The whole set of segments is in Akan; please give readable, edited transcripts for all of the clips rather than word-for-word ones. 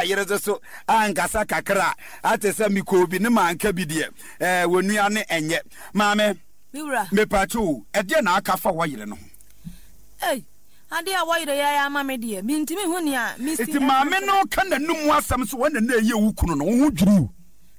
Yere nso so ankasa kakra a, ate sɛ mekɔɔ bi ne manka bi deɛ, ɛɛ, wɔnua ne ɛnyɛ. Maame, Me wura. mepaakyɛw o, ɛdeɛn na aka fa wɔyere no ho? Ei, adeɛ a wɔyere yɛ ama me deɛ, mentumi nhu nea mesi Nti ɛka maame nkyerɛ. no ka n'anum asɛm sɛ wɔn na na ɛyɛ wo kunu no, wo ho dwiri wo?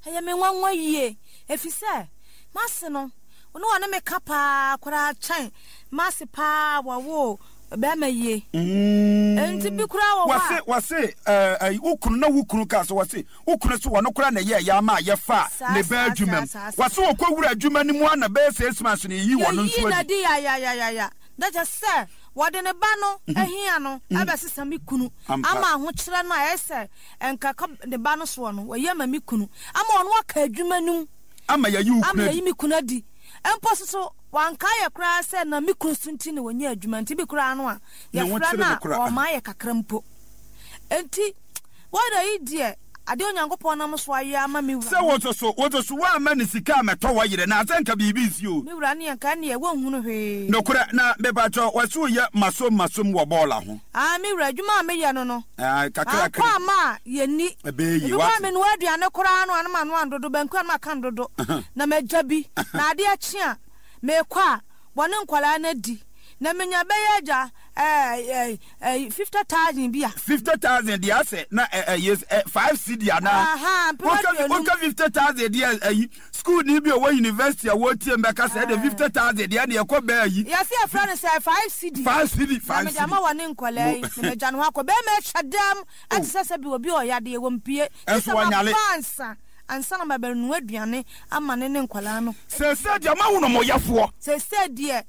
Ɛyɛ me nwanwa yie, efisɛ m'ase no, na ɔne me ka paa koraa kyɛn m'ase paa a wɔwoo bɛrima yie. Enti bi koraa wɔ hɔ a. Wɔse, wɔse, ɛɛ, ɛyi, wo kunu, na wo kunu kaa sɛ, wɔse, wo kunu se wɔno koraa na ɛyɛɛ yɛ ama a yɛfaa Saa, ne baa saa, adwuma saa, mu. saa, saa. Wɔse wɔkɔ wura adwuma no mu ara na bɛyɛ 6 months no yɛyii wɔno nso Yɛyii no adi. adi yayayayaya. Na kyerɛ sɛ wɔde ne ba no ahia no abɛsesa me kunu Ampa. ama ahokyerɛ no a ɛyɛ sɛ nka ɛkɔ ne ba no soɔ no, wɔyi ama me kunu ama ɔno aka adwuma no mu. Ama yɛayi wo Ama kunu adi. yɛayi me kunu adi. Mpo nso so, wankae yɛ koraa sɛ na me kunu so nti na ɔnya adwuma nti, bi koraa no a, Ne ho yɛfrɛ kyere no no a, koraa. ɔmma yɛ kakra mpo. Enti, wɔda yi deɛ, adeɛ Onyankopɔn nam so ayɛ ama me wura Sɛ no. wo nso so, wo nso so woamma no sika ammɛtɔ wo yere no a, sɛ nka biribi nsi o. Me wura ne nka ɛnneɛ wɔnhunu hwee. Nokorɛ, na mepakyɛw, wɔse woyɛ masom masom wɔ bɔɔla ho. Aane, me wura, adwuma a meyɛ no no, Aane, kakrakra. Mankɔ amma a yɛnni. Ɛbɛyɛ yie, Ebi koraa woate. menoa aduane koraa no a na manoa no dodo, banku a na maka no dodo, na magya bi, na adeɛ kye a, mekɔ a, wɔne nkwadaa no adi, na menya bɛyɛ agya ɛɛ ɛɛ 50,000 bi a. 50,000 deɛ asɛ na ɛ ɛyɛ ɛ 5 cedi anaa? Ahaa, mpem Woka 50. woka 50,000 deɛ ayi sukuuni bi a ɔwɔ university a wɔretie mu bɛka sɛ ɛde 50,000 deɛ ɛne ɛkɔ bɛɛ ayi. Yɛse yɛfrɛ no sɛ 5 cedi. 5 cedi, Na five mede cedi. ama wɔne nkwadaa yi, Mo na magya ne ho akɔ. Bɛrima atwa dam Oh. ɛte sɛ sɛbi obi a ɔyɛ adeɛ, wɔmpue. Gye Ɛnso sɛ wɔnyale. maba ansa, ansa na mabɛnoa aduane ama ne ne nkwadaa no. Seesei deɛ moahunu mo yɛfoɔ. Seesei deɛ,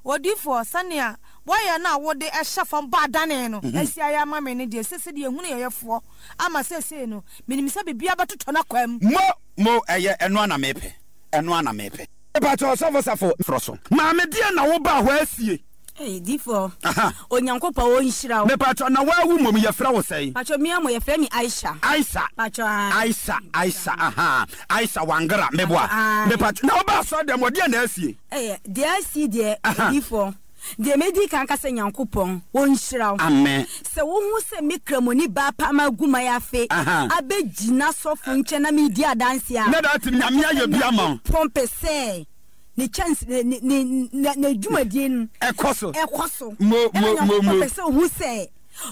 odiyifoɔ, sɛnea wɔyɛ no a wode hyɛ fam bɔ adane no asi ayɛ ama me no deɛ, seesei deɛ yɛhunu yɛn yɛfoɔ ama seesei no, menim sɛ biribiara bɛtotɔ n'akwan mu. Mo, mo, ɛyɛ, ɛno ara na mepɛ, ɛno ara na mepɛ. Mepakyɛ Ɔsɔfo Safo frɔ so. Maame deɛn na wo baa hɔ asie? Ei difoɔ Aha. Onyankopɔn ɔnhyira wo. Mepakyɛ na waa wo mmom yɛfrɛ wo sɛn? Pakyɛ mea mo yɛfrɛ me Aisha. Aisha. Pakyɛ ae. Aisha Aisha ahaa Aisha Wangara meboa. Pakyɛ ae. Mepakyɛ na wo baa asɔre dɛm hɔ deɛn na asie? Ɛyɛ deɛ asie deɛ Aha. odifoɔ deɛ mɛdi kan ka sɛ Nyankopɔn ɔnhyira wo. Amen. Sɛ wohu sɛ me kramoni baa paa magu mayafe Aha. abɛgyina sɔfo nkyɛn na medi adanseɛ a, Na that na Nyame kyerɛ sɛ ayɛ bi ama wo. Nyankopɔn pɛ sɛ ne kyɛnse ne ne ne ne n'adwumadie no Ɛkɔ so. ɛkɔ so. Mo Ɛna mo mo Nyankopɔn mo. pɛ sɛ ohu sɛ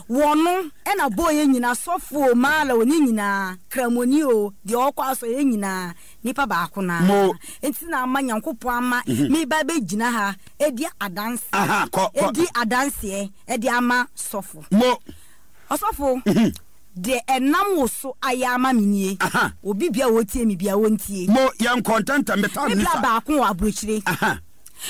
wɔno ɛna bɔɔ yɛn nyinaa, sɔfo o, maala o, ne nyinaa, kramoni o, deɛ ɔkɔ asɔre yɛn nyinaa nipa baako no ara. Mo. Nti na ama Nyankopɔn ama meba abɛgyina ha adi adanse, Aha, kɔ kɔ. adi adanseɛ ɛde ama sɔfo. Mo. Ɔsɔfo, deɛ ɛnam wo so ayɛ ama me nie. Aha. Obi biara a ɔretie me biara, ɔntie. Mo, yɛnkɔ ntɛmntɛm, me time Me ni bra sa. baako wɔ aburokyire. Aha.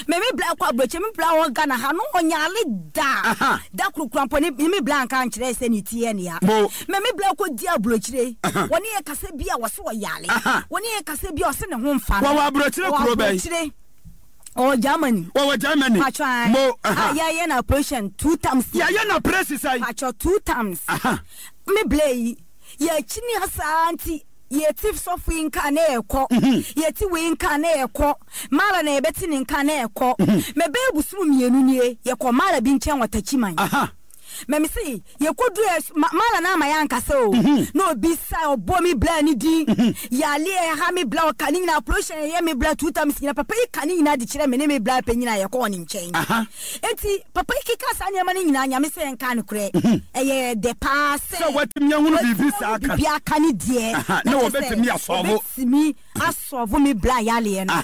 Me me bra kɔ aburokyire, me bra wɔ Ghana ha no ɔnyare da. Aha. Da koro kura mpo ne me bra nka nkyerɛ sɛ ne ti yɛ ne ya. Mo. Me me bra kɔ di aburokyire. Aha. Wɔne yɛ kasa bi a wɔse ɔyare. Aha. Wɔne yɛ kasa bi a ɔse ne ho mfa no. Wɔwɔ aburokyire Wɔwɔ kuro bɛn? aburokyire. Ɔwɔ Germany. Wɔwɔ Germany. Patro ae. Mo, aha. A yɛayɛ no operation two times. Yɛayɛ no operation sɛn? Patro two times. Aha. Me blɛ yi, yɛakyini ha saa nti yɛte sɔfo yi nka na yɛkɔ. Yɛte wei nka na yɛkɔ. Mara na yɛbɛte ne nka na yɛkɔ. Mɛbɛyɛ bosom mmienu nie, yɛkɔ Mara bi nkyɛn wɔ Takyiman. Aha. Mɛ me se yɛkɔduru ɛ mala no ama yɛankasa o na obi sa ɔbɔ me bla ne din yale ɛha me bla ɔka ne nyinaa operation ɛyɛ me bla two times nyina papa yi ka ne nyinaa de kyerɛ me ne me bla panyin a yɛkɔɔ ne nkyɛn enti papa yi keka saa nneɛma no nyinaa Nyame sɛ yɛnka nokorɛ ɛyɛ dɛ paa sɛ sɛ watumi ahunu biribi saa ka biribi aka ne deɛ na wɔbɛtumi asɔvo wɔbɛtumi asɔvo me bla yaleɛ no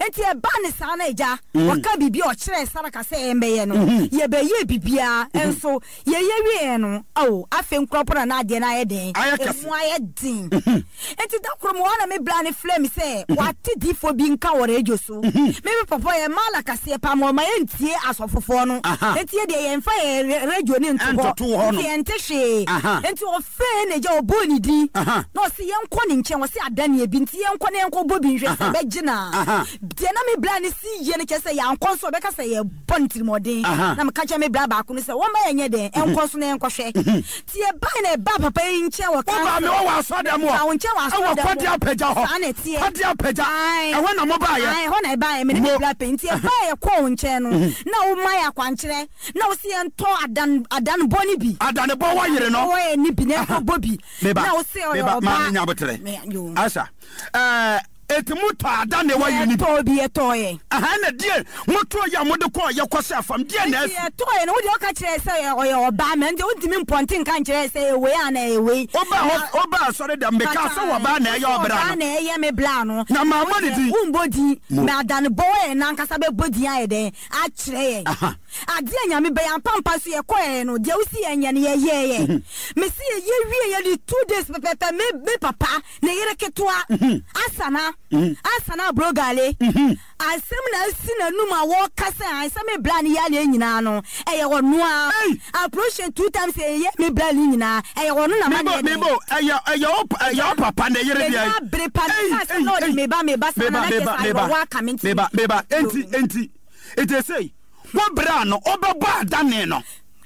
enti ɛbaa ne saa na agya ɔka biribi a ɔkyerɛɛ Saraka sɛ yɛmbɛyɛ no yɛbɛyɛɛ biribiara nso yɛyɛ wieɛ no ao afei nkorɔpɔ na na adeɛ no ayɛ dɛn ɛmu ayɛ den enti da koro mewɔ hɔ na me bla no frɛ me sɛ wate difoɔ bi nka wɔ radio so me me papa yɛ mala kaseɛ paa ma ɔma yɛntie asɔfofoɔ no enti yɛ deɛ yɛmfa yɛ radio no nto hɔ nti yɛnte hwee enti ɔfrɛɛ n'agya ɔbɔɔ ne din na ɔse yɛnkɔ ne nkyɛn ɔse adaneɛ bi nti yɛnkɔ ne. na yɛnkɔ bɔ bi nhwɛ sɛ ɛbɛgye no a. Deɛ na me bra no si yie no kyerɛ sɛ yɛankɔ nso a ɔbɛka sɛ yɛbɔ no tirimɔden. Na meka kyerɛ me bra baako no sɛ wɔmma yɛnyɛ dɛn nkɔ nso na yɛnkɔhwɛ. Nti yɛbae na yɛbaa papa yi nkyɛn wɔ Wobaa me council. hɔ wɔ asɔrdan mu hɔ. Mebaa wo nkyɛn wɔ Ɛwɔ asɔrdan mu Kɔde hɔ. Apagya hɔ. Saa na ɛteɛ. Kɔde Apagya. Ae. Ɛhɔ na mobaeɛ. Ae, ɛhɔ na yɛbaeɛ, me ne me Mo. bra panin. Nti yɛbaeɛ yɛkɔɔ wo nkyɛn no, na woma yɛn akwankyerɛ. Na wo se yɛntɔ adan adanebɔ no bi. Adanebɔ wɔ yere no. Wɔ yɛ ne bi na yɛnkɔ bɔ bi. Meba Na wo se ɔyɛ meba ɔbaa. maame nya abotere. Me yo. Asha ɛɛ eti mo tɔ adane wɔ yere no bi. Yɛtɔɔ bi yɛtɔɔ yɛ. Aha na deɛ mo tɔɔ yɛ a mo de kɔɔ yɛ kɔ hyɛ fam deɛ na Eti asi. yɛtɔɔ yɛ no wo deɛ ɔka kyerɛ yɛ sɛ ɔyɛ ɔbaa mɛ nti wontumi mpɔnte nka nkyerɛ yɛ sɛ ɛyɛ wei anaa ɛyɛ wei. Woba hɔ woba asɔre dɛm me kaa sɛ ɔbaa na ɛyɛ ɔbra Ɔbaa no. na ɛyɛ me bra no. Na maa mɔ ne din. Wo mbɔ din. Mo. Mɛ adanebɔ wɔ yɛ nankasa bɛ bɔ din ayɛ dɛn. Akyerɛ yɛn. Adeɛ a Nyame bɛyɛ ampa ampa nso yɛkɔɛɛ no deɛ wosi yɛn nyɛ no yɛyɛɛyɛ. Mesi yɛyɛ wie yɛ de 2 days pɛpɛpɛ me me papa ne yere ketewa Asana Asana Abrogale asɛm na asi n'anum a wɔka sɛ an sɛ me bra ne yareɛ nyinaa no ɛyɛ ɔno a operation 2 times yɛyɛ me bra ne nyinaa ɛyɛ ɔno na ma ne yɛ dɛn. Mebo ɛyɛ ɛyɛ wo ɛyɛ wo papa ne yere deɛ. Menya bere pa me ka sɛ na ɔde me ba me ba saa na na kyerɛ sɛ awerɛhoɔ aka me nti. Meba meba enti enti Enti sei, wo berɛ a no wobɛbɔ adane no,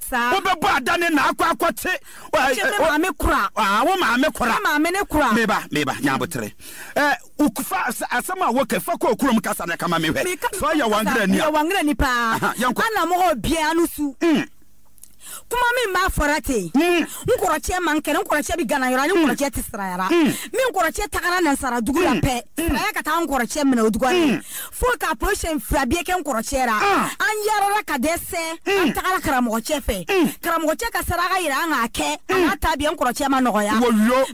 Saa. wobɛbɔ adane na akɔ akɔte. Kye me maame kora. Ah, wo maame kora. Me maame ne kora. Meba, meba, nya abotere. Eh, fa asɛm a woka fa kɔ kurom kasa na kama mehwɛ. Meka So ɔyɛ wangrani a. Meyɛ wangrani paa. Aha, yɛnkɔ. Ana mo hɔ biara no su. Kuma min b'a fɔra ten n kɔrɔcɛ man kɛnɛ n kɔrɔcɛ bɛ gana yɔrɔ ani n kɔrɔcɛ tɛ sirayara min kɔrɔcɛ tagara nansara dugu la pɛ siraya ka taa n kɔrɔcɛ minɛ o dugu la fo ka prochain fila biye kɛ n kɔrɔcɛ ra an yarala ka dɛsɛ an tagara karamɔgɔcɛ fɛ karamɔgɔcɛ ka saraka yira an k'a kɛ a n'a ta biye n kɔrɔcɛ ma nɔgɔya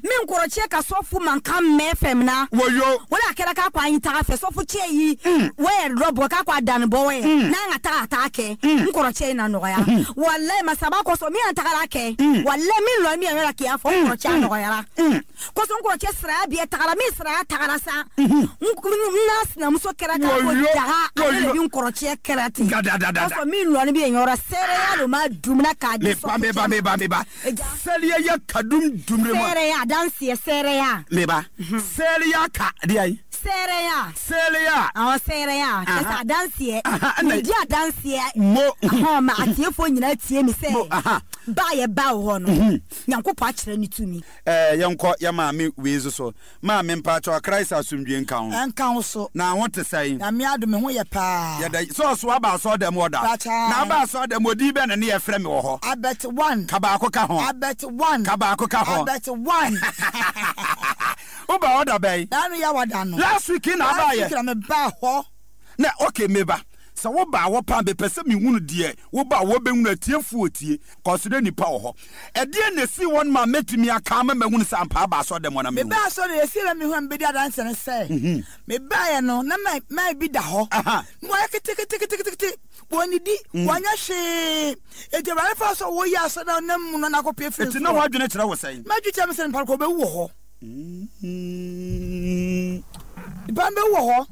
min kɔrɔcɛ ka sɔfu mankan mɛn fɛn min na o la a kɛra k'a ko an y'i taga fɛ sɔfu cɛ yi wɛ yɛrɛ dɔ bɔ k'a ko a danni bɔ wɛ n'an ka taga a t'a kɛ n kɔrɔcɛ in na nɔgɔya walayi masaba kosɔn min an tagara kɛ walayi min lɔ min yɛrɛ k'i y'a fɔ n kɔrɔcɛ a nɔgɔyara kosɔn n kɔrɔcɛ siraya biye tagara min siraya tagara sa n n'a sinamuso kɛra k'a ko daga ale de bi n kɔrɔcɛ kɛra ten kosɔn min lɔni bɛ yen yɔrɔ seereya lo ma dumuna k'a di sɔfu cɛ ma meba meba sɛliya ya kadum dumre ma seereya danseɛ seereya meba sɛliya ka deɛ yi seereya sɛliya awɔ seereya kyɛ sɛ adanseɛ medi adanseɛ mo ahɔn ma atiefoɔ nyinaa tie mi sɛ ba yɛ ba wɔ hɔ no Nyankopɔn akyerɛ ne tumi. Ɛɛ yɛnkɔ yɛ maame wei nso so. Maame mpakyɛw Christ asomdwie nka wo. Ɛnka wo so. Na ho te sɛn? Nyame adom me ho yɛ paa. Yɛda sɛ ɔso aba asɔɔdɛm hɔ da. Pakyɛ. Na aba asɔɔdɛm hɔ din bɛn na ne yɛfrɛ me wɔ hɔ? Abet one. Ka baako ka ho. Abet one. Ka baako ka ho. Abet one. Woba hɔ da bɛn? Naanu yɛ wada no. Last week na abaayɛ. Last week na me baa hɔ. Na okay meba. Sɛ woba hɔ paa mepɛ sɛ mehunu deɛ woba hɔ bɛhunu atiefoɔ tie kɔso dɛ nipa wɔ hɔ. Ɛdeɛn na ɛsii hɔ no ma mɛtumi aka ama mahunu sɛ ampa aba asɔre dɛm hɔ na mehu? Mebaa asɔre deɛ ɛsii na mehu a mebɛdi adanseɛ ne sɛ, mebaeɛ no na man bi da hɔ na wayɛ keteketeketekete, wɔnnidi, wɔnyɛ hwee. Enti Awurade faa so a wɔyi asɔre a ɔnam mu no na akɔpue firi Enti na soro. w'adwene kyerɛ wo sɛn? M'adwene kyerɛ me sɛ nipa no kɔ ɔbɛwu wɔ hɔ. Nipa no bɛwu wɔ hɔ.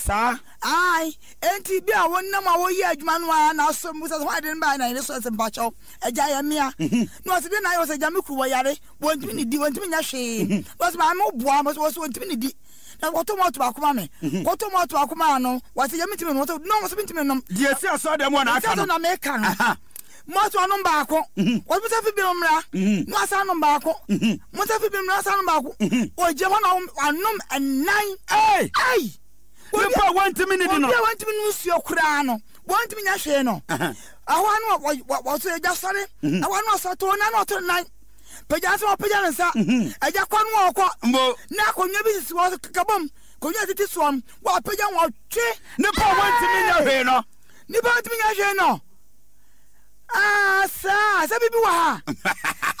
Saa. Ae, enti bi a wonam a woyɛ adwuma no ara na asɔ mu sɛ hwan de no bae na yere sɔre sɛ mpakyɛw, agya yɛ mmea. Na ɔse deɛ na ayɛ ɔsɛ agya me kuru wɔyare, wɔntumi nidi, wɔntumi nyɛ hwee. Na ɔse maame wo boa, ɔse wɔse wɔntumi nidi. Na kɔtɔ malt baako ma me. Kɔtɔ malt baako maa no, wɔse agya mentumi nom, ɔse no, ɔse mentumi nom. Deɛ ɛsi asɔre dɛm hɔ na aka no. Ɛsi asɔre na meka no. Malt ɔnom baako, ɔse monsa fi binom mmra, na wasan nom baako, monsa fi binom mmra, wasan nom baako. Ɔgyina hɔ na wanom ɛnan. Ei! Ei! Nipa a wɔntumi nidi no. Obi a wɔntumi nom nsuo koraa no, wɔntumi nyɛ hwee no. Ɛhɔ ano wɔso agya sɔre, ɛhɔ ano ɔsɔ to nan ɔto nan. Pagya nsa ɔpagya ne nsa. Agya kɔ no ɔkɔ. Na akonnwa bi sisi hɔ kabom, akonnwa tete soɔ no, wɔapagya wɔtwe. Nipa a wɔntumi nyɛ hwee no. Nipa a wɔntumi nyɛ hwee no. Ah, saa, sɛ biribi wɔ ha.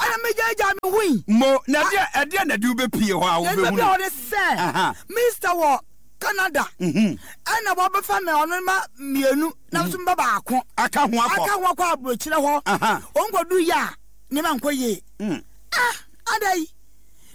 Ɛna megyaagyaa me ho yi. Mo, na ɛdeɛ, ɛdeɛ na ɛde wobɛpie hɔ a wobɛhunu. Na ɛde hɔ ne sɛ, Mr. wɔ Canada. Ɛna wɔbɛfa me ɔno ma mmienu, na nso mba baako. Aka ho akɔ. Aka ho akɔ aburokyerɛ hɔ. Wɔn kɔdu yɛ a, nneɛma nkɔ yie. Ah, ada yi.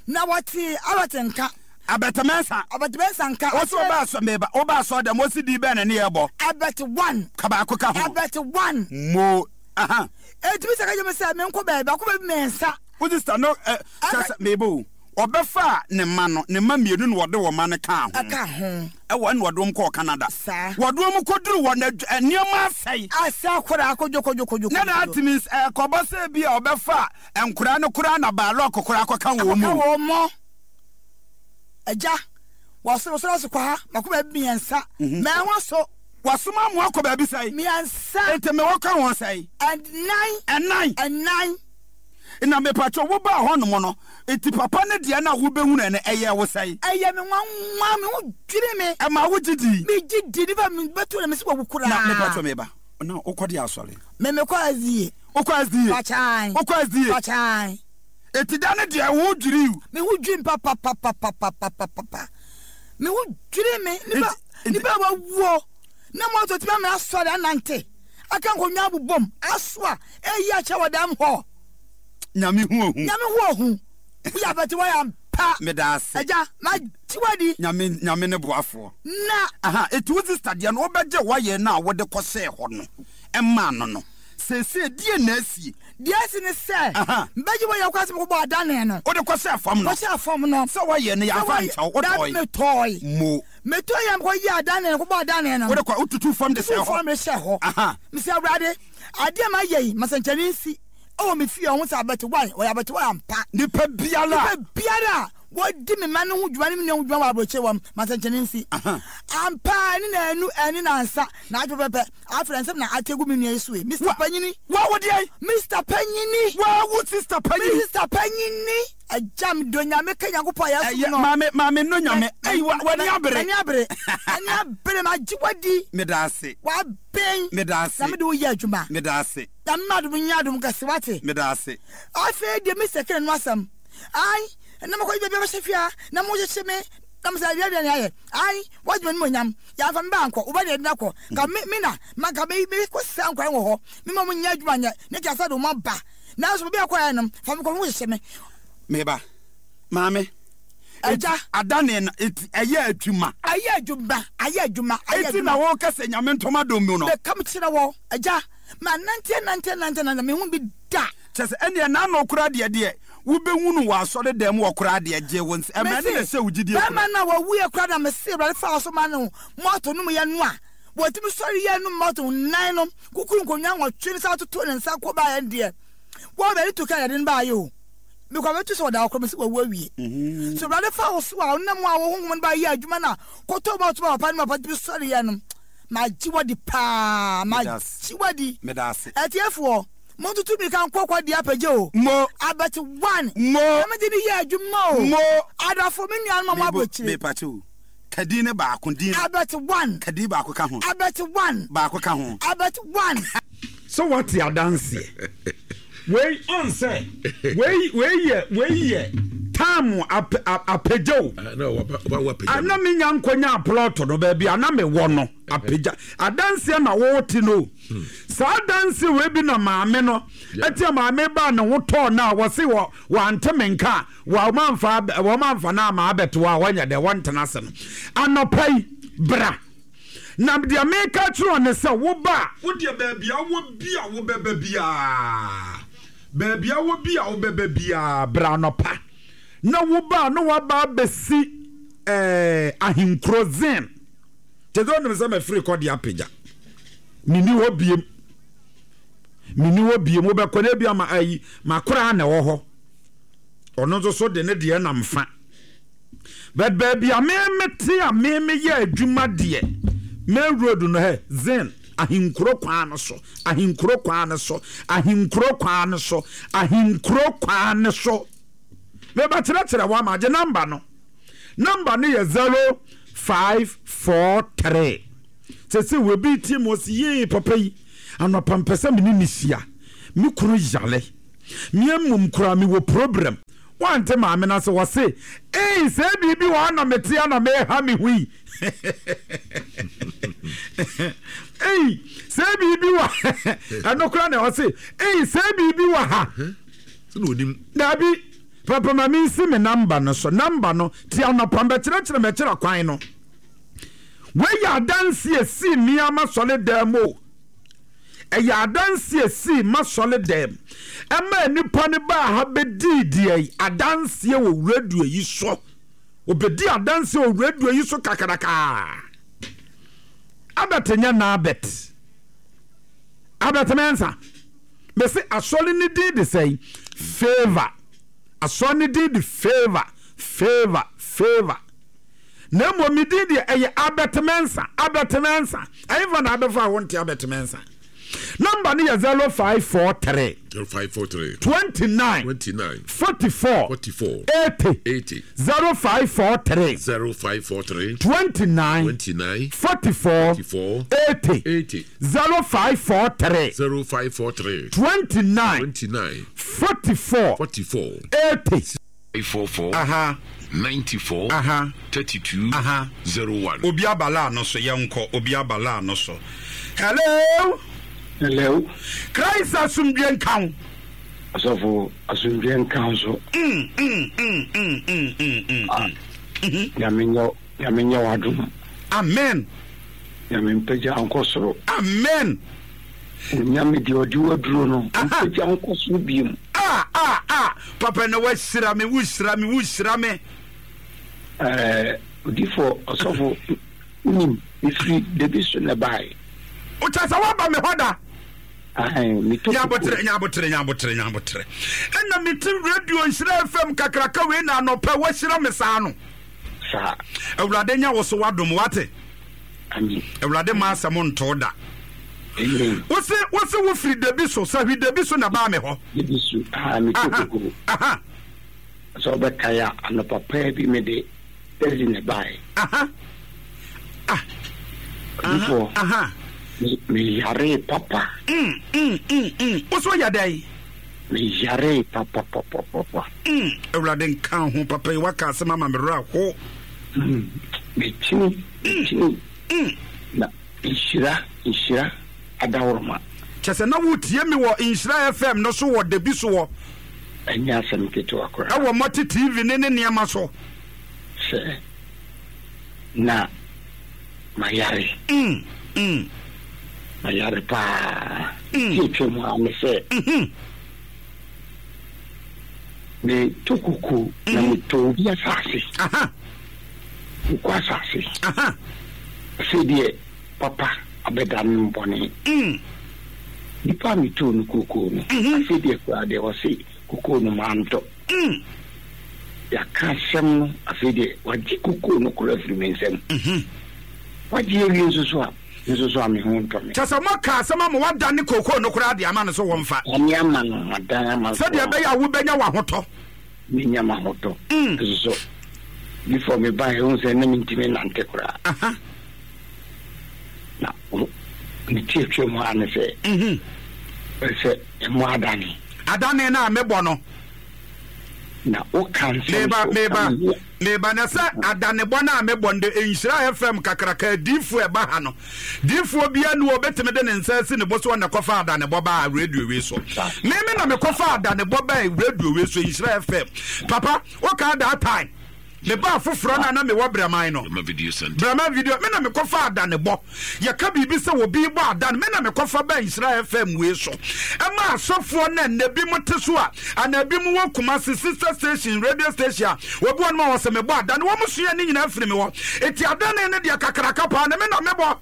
Na wɔte Albert nka. Albert Mensah. Albert Mensah nka. Wɔsi ɔba asɔ meba ɔba asɔ dɛm wɔsi di bɛn na ne yɛ bɔ. Albert one. Ka baako ka ho. Albert one. Mo aha. Eti mi sɛ kakyɛ mi sɛ mi nkɔ baabi akɔ baabi mmiɛnsa. Wo sista no ɛ kyɛ sɛ meba o. Ɔbɛfaa ne mma no, ne mma mmienu na wɔde wɔn mma no kaa ho. Ɛka ho. Ɛwɔ ɛna wɔde wɔn kɔɔ Canada. Saa. Wɔde wɔn kɔduru hɔ no, adw nneɛma asɛe. Asɛe koraa kodwokodwokodwo. Na that means ɛkɔba sɛ bi a ɔbɛfa nkoraa no koraa na baalɔk koraa akɔka wɔn mu. Akɔka wɔn mu. Agya, wɔsoro soro ase kɔ ha, mako baabi mmiɛnsa. Mɛho so. Wasoma mo akɔ baabi sɛn? Mmiɛnsa. Nti mewɔ ka ho sɛn? Ɛnan. Ɛnan. Ɛnan. Na mepakyɛw wo baa hɔ nom no, nti papa no deɛ no a wo bɛhunuu no ɛyɛɛ wo sɛn? Ɛyɛ me nwanwa, me ho dwiri me. Ɛmaa wo gye dii? Me gye dii, nipa me bɛto na me se wawu koraa. Na mepakyɛw me ba, na wo kɔ de asɔre? Me me kɔ SDA. Wo kɔ SDA? Pakyan. Wo kɔ SDA? Pakyan. Eti da no deɛ wo ho dwirii wo? Me ho dwiri me papapapapapapa. Me ho dwiri me, nipa, nipa a wawuo na mo atɔ tumi amena asɔre anante, aka nkonnwa abobom, asoa. Eyi akyɛ wɔ dɛm hɔ. Nyame hu ohu. Nyame hu ohu. Woyɛ abɛte wɔyɛ ampa. Meda ase. Agya, magye wadi. Nyame, Nyame ne boafoɔ. Na. Aha, eti wo sister deɛ no wobɛgye wayɛ no a wode kɔhyɛɛ hɔ no maa no no, seesei deɛn na asie? Deɛ asi ne sɛ, Aha. mebɛgye wayɛ kɔ ase mekɔbɔ adane no. Wode kɔhyɛɛ fam no. Kɔhyɛɛ fam no. Sɛ wayɛ no yɛamfa Sɛ wayɛ, ankyɛ wo, dabi wotɔe. metɔe. Mo. Metɔe a mekɔyɛɛ adane no, kɔbɔɔ adane no. Wode kɔ, wotutuu fam de hyɛɛ Tutuu hɔ. fam de hyɛɛ hɔ. Aha. Mese Awurade, Adeɛ a mayɛ yi, ma sɛnkyerɛnne nsi wɔ me fie a wɔhu sɛ abɛtewae, wɔyɛ abɛtewae ampa. Nipa biara a. Nipa biara a wɔdi me mma no ho dwuma ne me nua ho dwuma wɔ aburokyire hɔ no, ma sɛnkyerɛnne nsi. Ampa ara, ɛne nnanu, ɛne nnansa, naawɔtwe pɛpɛɛpɛ, afei nsɛm na ate agu me nua yi so yi. Mister Panyini. Wa wo deɛn? Mister Panyini. Wa wo sister Panyini. Me sister Panyini. Agya, medɔ Nyame ka Nyankopɔn a yɛsom no. Ɛyɛ, maame, maame nnɔ Nyame. Ei, wa, w'ani abere. M'ani abere. M'ani abere, magye wo adi. Meda ase. W'aben. Meda ase. Na mede wo yɛ adwuma. Meda ase. Nyame ma adom nyɛ adom kɛse, wate. Meda ase. Afei deɛ Mister Kane no asɛm. Ae, na makɔgye baabi abɛhyɛ fie ha, na mohyehye me, na mesɛ adeɛ deɛ ne ayɛ. Ae, woagye m'animuonyam. Yɛamfa me ba ankɔ, wo ba deɛ yɛde no akɔ. Ka me, me na, ma nka me, me kɔ sesa nkwan wɔ hɔ. Me ma wɔn nyɛ adwuma nyɛ, ne nka sɛ de wɔn aba. Nanso baabi a kɔɛ no, fa me kɔ, ho hyehye me. Me ba, maame. Agya. Adane no, eti ɛyɛ adwuma. Ayɛ adwuma, ayɛ adwuma, ayɛ adwuma. Eti na wɔka sɛ Nyame ntɔma dom mu no. Meka me kyerɛ wɔ, agya, ma nante nante nante nante, me ho bi da. Kyɛ sɛ ɛneɛ n'ano koraa deɛ deɛ wobɛhunu wɔ asɔre dan mu hɔ koraa deɛ gye wo nsam, ɛmɛ ne na ɛhyɛ wo gyidie kura. Bɛrima no a wɔwuiɛ koraa na mese Awurade faa so ma no moto nom yɛ no a, wɔtumi sɔre yɛ nom moto nan no, kukuru nkonnwa nwɔtwe no san totoo ne nsa kɔ baeɛ no deɛ, wɔn bɛde to kaa yɛde no baeɛ o. Mekɔ bɛto sɛ ɔda hɔ koraa mese wawu awie. Mhm. So Awurade fa wo so a wonam a wo honhom no ba yɛ adwuma no a kɔtɔ moto ma papa no ma papa tumi sɔre yɛ no, magye wadi paa, magye wadi. Meda ase. Atiefoɔ, montutu mirika nkɔ kɔ deɛ apagya o. Mo. Abɛte one. Mo. Na mede ne yɛ adwuma o. Mo. Adɔfo, me nuanom a mo aburokyire. Mepakyɛ o. Ka din no baako din. Abɛte one. Ka din baako ka ho. Abɛte one. Baako ka ho. Abɛte one. So wate adanseɛ? Wei ɔn sɛ wei wei yɛ wei yɛ time ap ap apagya o. Ah, na waba waba apagya. Ana me nya nkɔnya plot no baabi ana me wɔ no apagya adanseɛ na wɔte no. Hmm. Saa adanseɛ wei bi na maame no ɛte a maame baa ne ho tɔɔ no a wɔse wɔ wɔante me nka a wɔamfa wɔamfa no ama abɛto a wɔnyɛ dɛ wɔntena ase no anɔpa yi bra. Na deɛ meka akyerɛ wo ne sɛ, woba a. Wo deɛ baabi a wowɔ bi a wobɛba biara, baabi a wowɔ bi a wobɛba biara, bra anɔpa. Na woba a, na woaba abɛsi eh, ahenkuro Zin. Kyɛ sɛ wonim sɛ mafiri kɔ de apagya. Menni hɔ biem. Menni hɔ biem. Wobɛkɔ no ebi ama ayi, makoraa na ɛwɔ hɔ. Ɔno nso so de ne deɛ nam fa. But baabi a me mete a me meyɛ adwuma deɛ, main road no hɛ, Zen, Ahenkuro kwan no so, Ahenkuro kwan no so, Ahenkuro kwan no so, Ahenkuro kwan no so. Mebɛkyerɛkyerɛ wo ama, gye number no. Number no yɛ 0543. Sese obi tie mu ɔsi yee papa yi, anɔpa mpɛ sɛ me ne ne hyia. Me kunu yale. Me mmom koraa mewɔ problem. Wante maame no ase, ɔse, Ei, sɛ biribi wɔ ha na mete a na meha me ho yi. Ei, sɛ biribi wɔ ɛno koraa na ɔse, Ei, sɛ biribi wɔ ha. Dabi, papa ma mensi me namba no so. Namba no, ti anɔpa mbɛkyerɛkyerɛ mɛkyerɛ kwan no. Wei yɛ adanse esii mmea m'asɔre dan mu o. Ɛyɛ adanseɛ a ɛsii m'asɔre dɛm ɛmaa nnipa no baa ha bɛdii deɛ adanseɛ wɔ radio yi so. Wɔbɛdii adanseɛ wɔ radio yi so kakrakaa. Abert nyɛ Nabert. Abert Mensah. Mese asɔre no din de sɛn? Favour. Asɔre no din de Favour, Favour, Favour. Na mmom me din deɛ ɛyɛ Albert Mensah, Albert Mensah. Ɛhefa na abɛfa a wonte Albert Mensah? Namba no yɛ 0543. 0543. 29. 29. 44. 44. 80. 80. 0543. 0543. 29. 29. 44. 44. 80. 80. 0543. 0543. 29. 29. 44. 44. 80. 44 Aha. 94 Aha. 32 Aha. 01. Obi aba line no so, yɛnkɔ. Obi aba line no so. Hello. Hello. Christ asomdwe nka wo. Asɔfo asomdwe nka wo so. Mm, mm, mm, mm, mm, mm, mm, Ah, mm. Nyame nyɛ Nyame nyɛ w'adom. Amen. Nyame mpagya nkɔ soro. Amen. Onyame deɛ ɔde waduro no mpagya nkɔ soro biom. Ah ah ah papa na wahyira me wohyira me wohyira me. Ɛɛ odifo ɔsɔfo wonim mefiri dabi so na ɛbaeɛ. Wokyɛ sɛ woaba me hɔ da. Ahan metɔ Nyabotere nyabotere nyabotere nyabotere. Ɛna mete radio nhyira FM kakraka wei na anɔpɛ wahyira me saa no. Saa. Awurade nya wo so wadom wate. Amen. Awurade ma asɛm ntoo da. Amen. Wose wose wofiri dabi so sahwi dabi so na baa me hɔ. Dabi so aa me to koko. Aha. Sɛ ɔbɛkae a anɔpa paa bi me de taxi na ɛbaeɛ. Aha. Ah. Odifoɔ. Aha. Me me yaree papa. Mm mm mm mm. Wo so yɛ dɛn? Me yaree papa papa papa. Mm. Awurade nka ho papa yi waka asɛm ama me werɛ aho. Mm. Mekyini mekyini. Mm. Na nhyira nhyira adaworoma. Kyɛ sɛ na wotie me wɔ Nhyira FM no so wɔ dabi so wɔ. Ɛnyɛ asɛm ketewa koraa. Ɛwɔ Multi TV ne ne nneɛma so. Sɛ na mayare. Mm, mm. Mayare paa. Mm. Ti atwa mu ara ne sɛ. Mhm. Metɔ koko na metɔ obi asase. Aha. Koko asase. Aha. Afei deɛ papa abɛda no bɔne. Mm. Nipa a metɔɔ no kokoo no, afei deɛ koraa deɛ ɔse kokoo no mantɔ. Mm. Yɛaka asɛm no, afei deɛ wagye kokoo no koraa afiri me nsam. Mhm. Wagye awie nso so a, nso so a me ho ntɔ me. Kyɛ sɛ moaka asɛm ama wadane kookoo no koraa de ama no so wɔmfa. Dane ama no, madan ama no. Sɛdeɛ ɛbɛyɛ a wobɛnya w'ahotɔ. Menya m'ahotɔ. Mm. Nso so, before mebaeɛ, wohu sɛ na mentumi nnante koraa. Aha. Na ne ti atwa mu ara ne sɛ, Mhm. sɛ ɛmo adane. Adane no a mebɔ no. Na woka nsɛm Meba, so meba, ama me. meba na sɛ adanebɔ no a mebɔ no de Nhyira FM kakraka adiifoɔ ɛba ha no. Diifoɔ biara ni wɔbɛtumi de ne nsa asi ne bo so ɔna kɔfa adanebɔ baa radio wei so. Me me na mekɔfa adanebɔ baa radio wei so Nhyira FM. Papa, wokaa that time. Mebaa foforɔ no a na mewɔ Brɛman no. Brɛma Video Center. Brɛma Video, me na mekɔfa adanebɔ. Yɛka biribi sɛ obi bɔ adan, me na mekɔfa baa Nhyira FM wei so. Ɛma asɔfoɔ no a nnɛ bi mo te so a, anaa bi mo wɔ Kumasi sister station, radio station a, obi wɔ nom a wɔsɛ mebɔ adan, wɔn sua ne nyinaa firi me hɔ. Eti adane no deɛ kakraka paa no, me na mebɔ.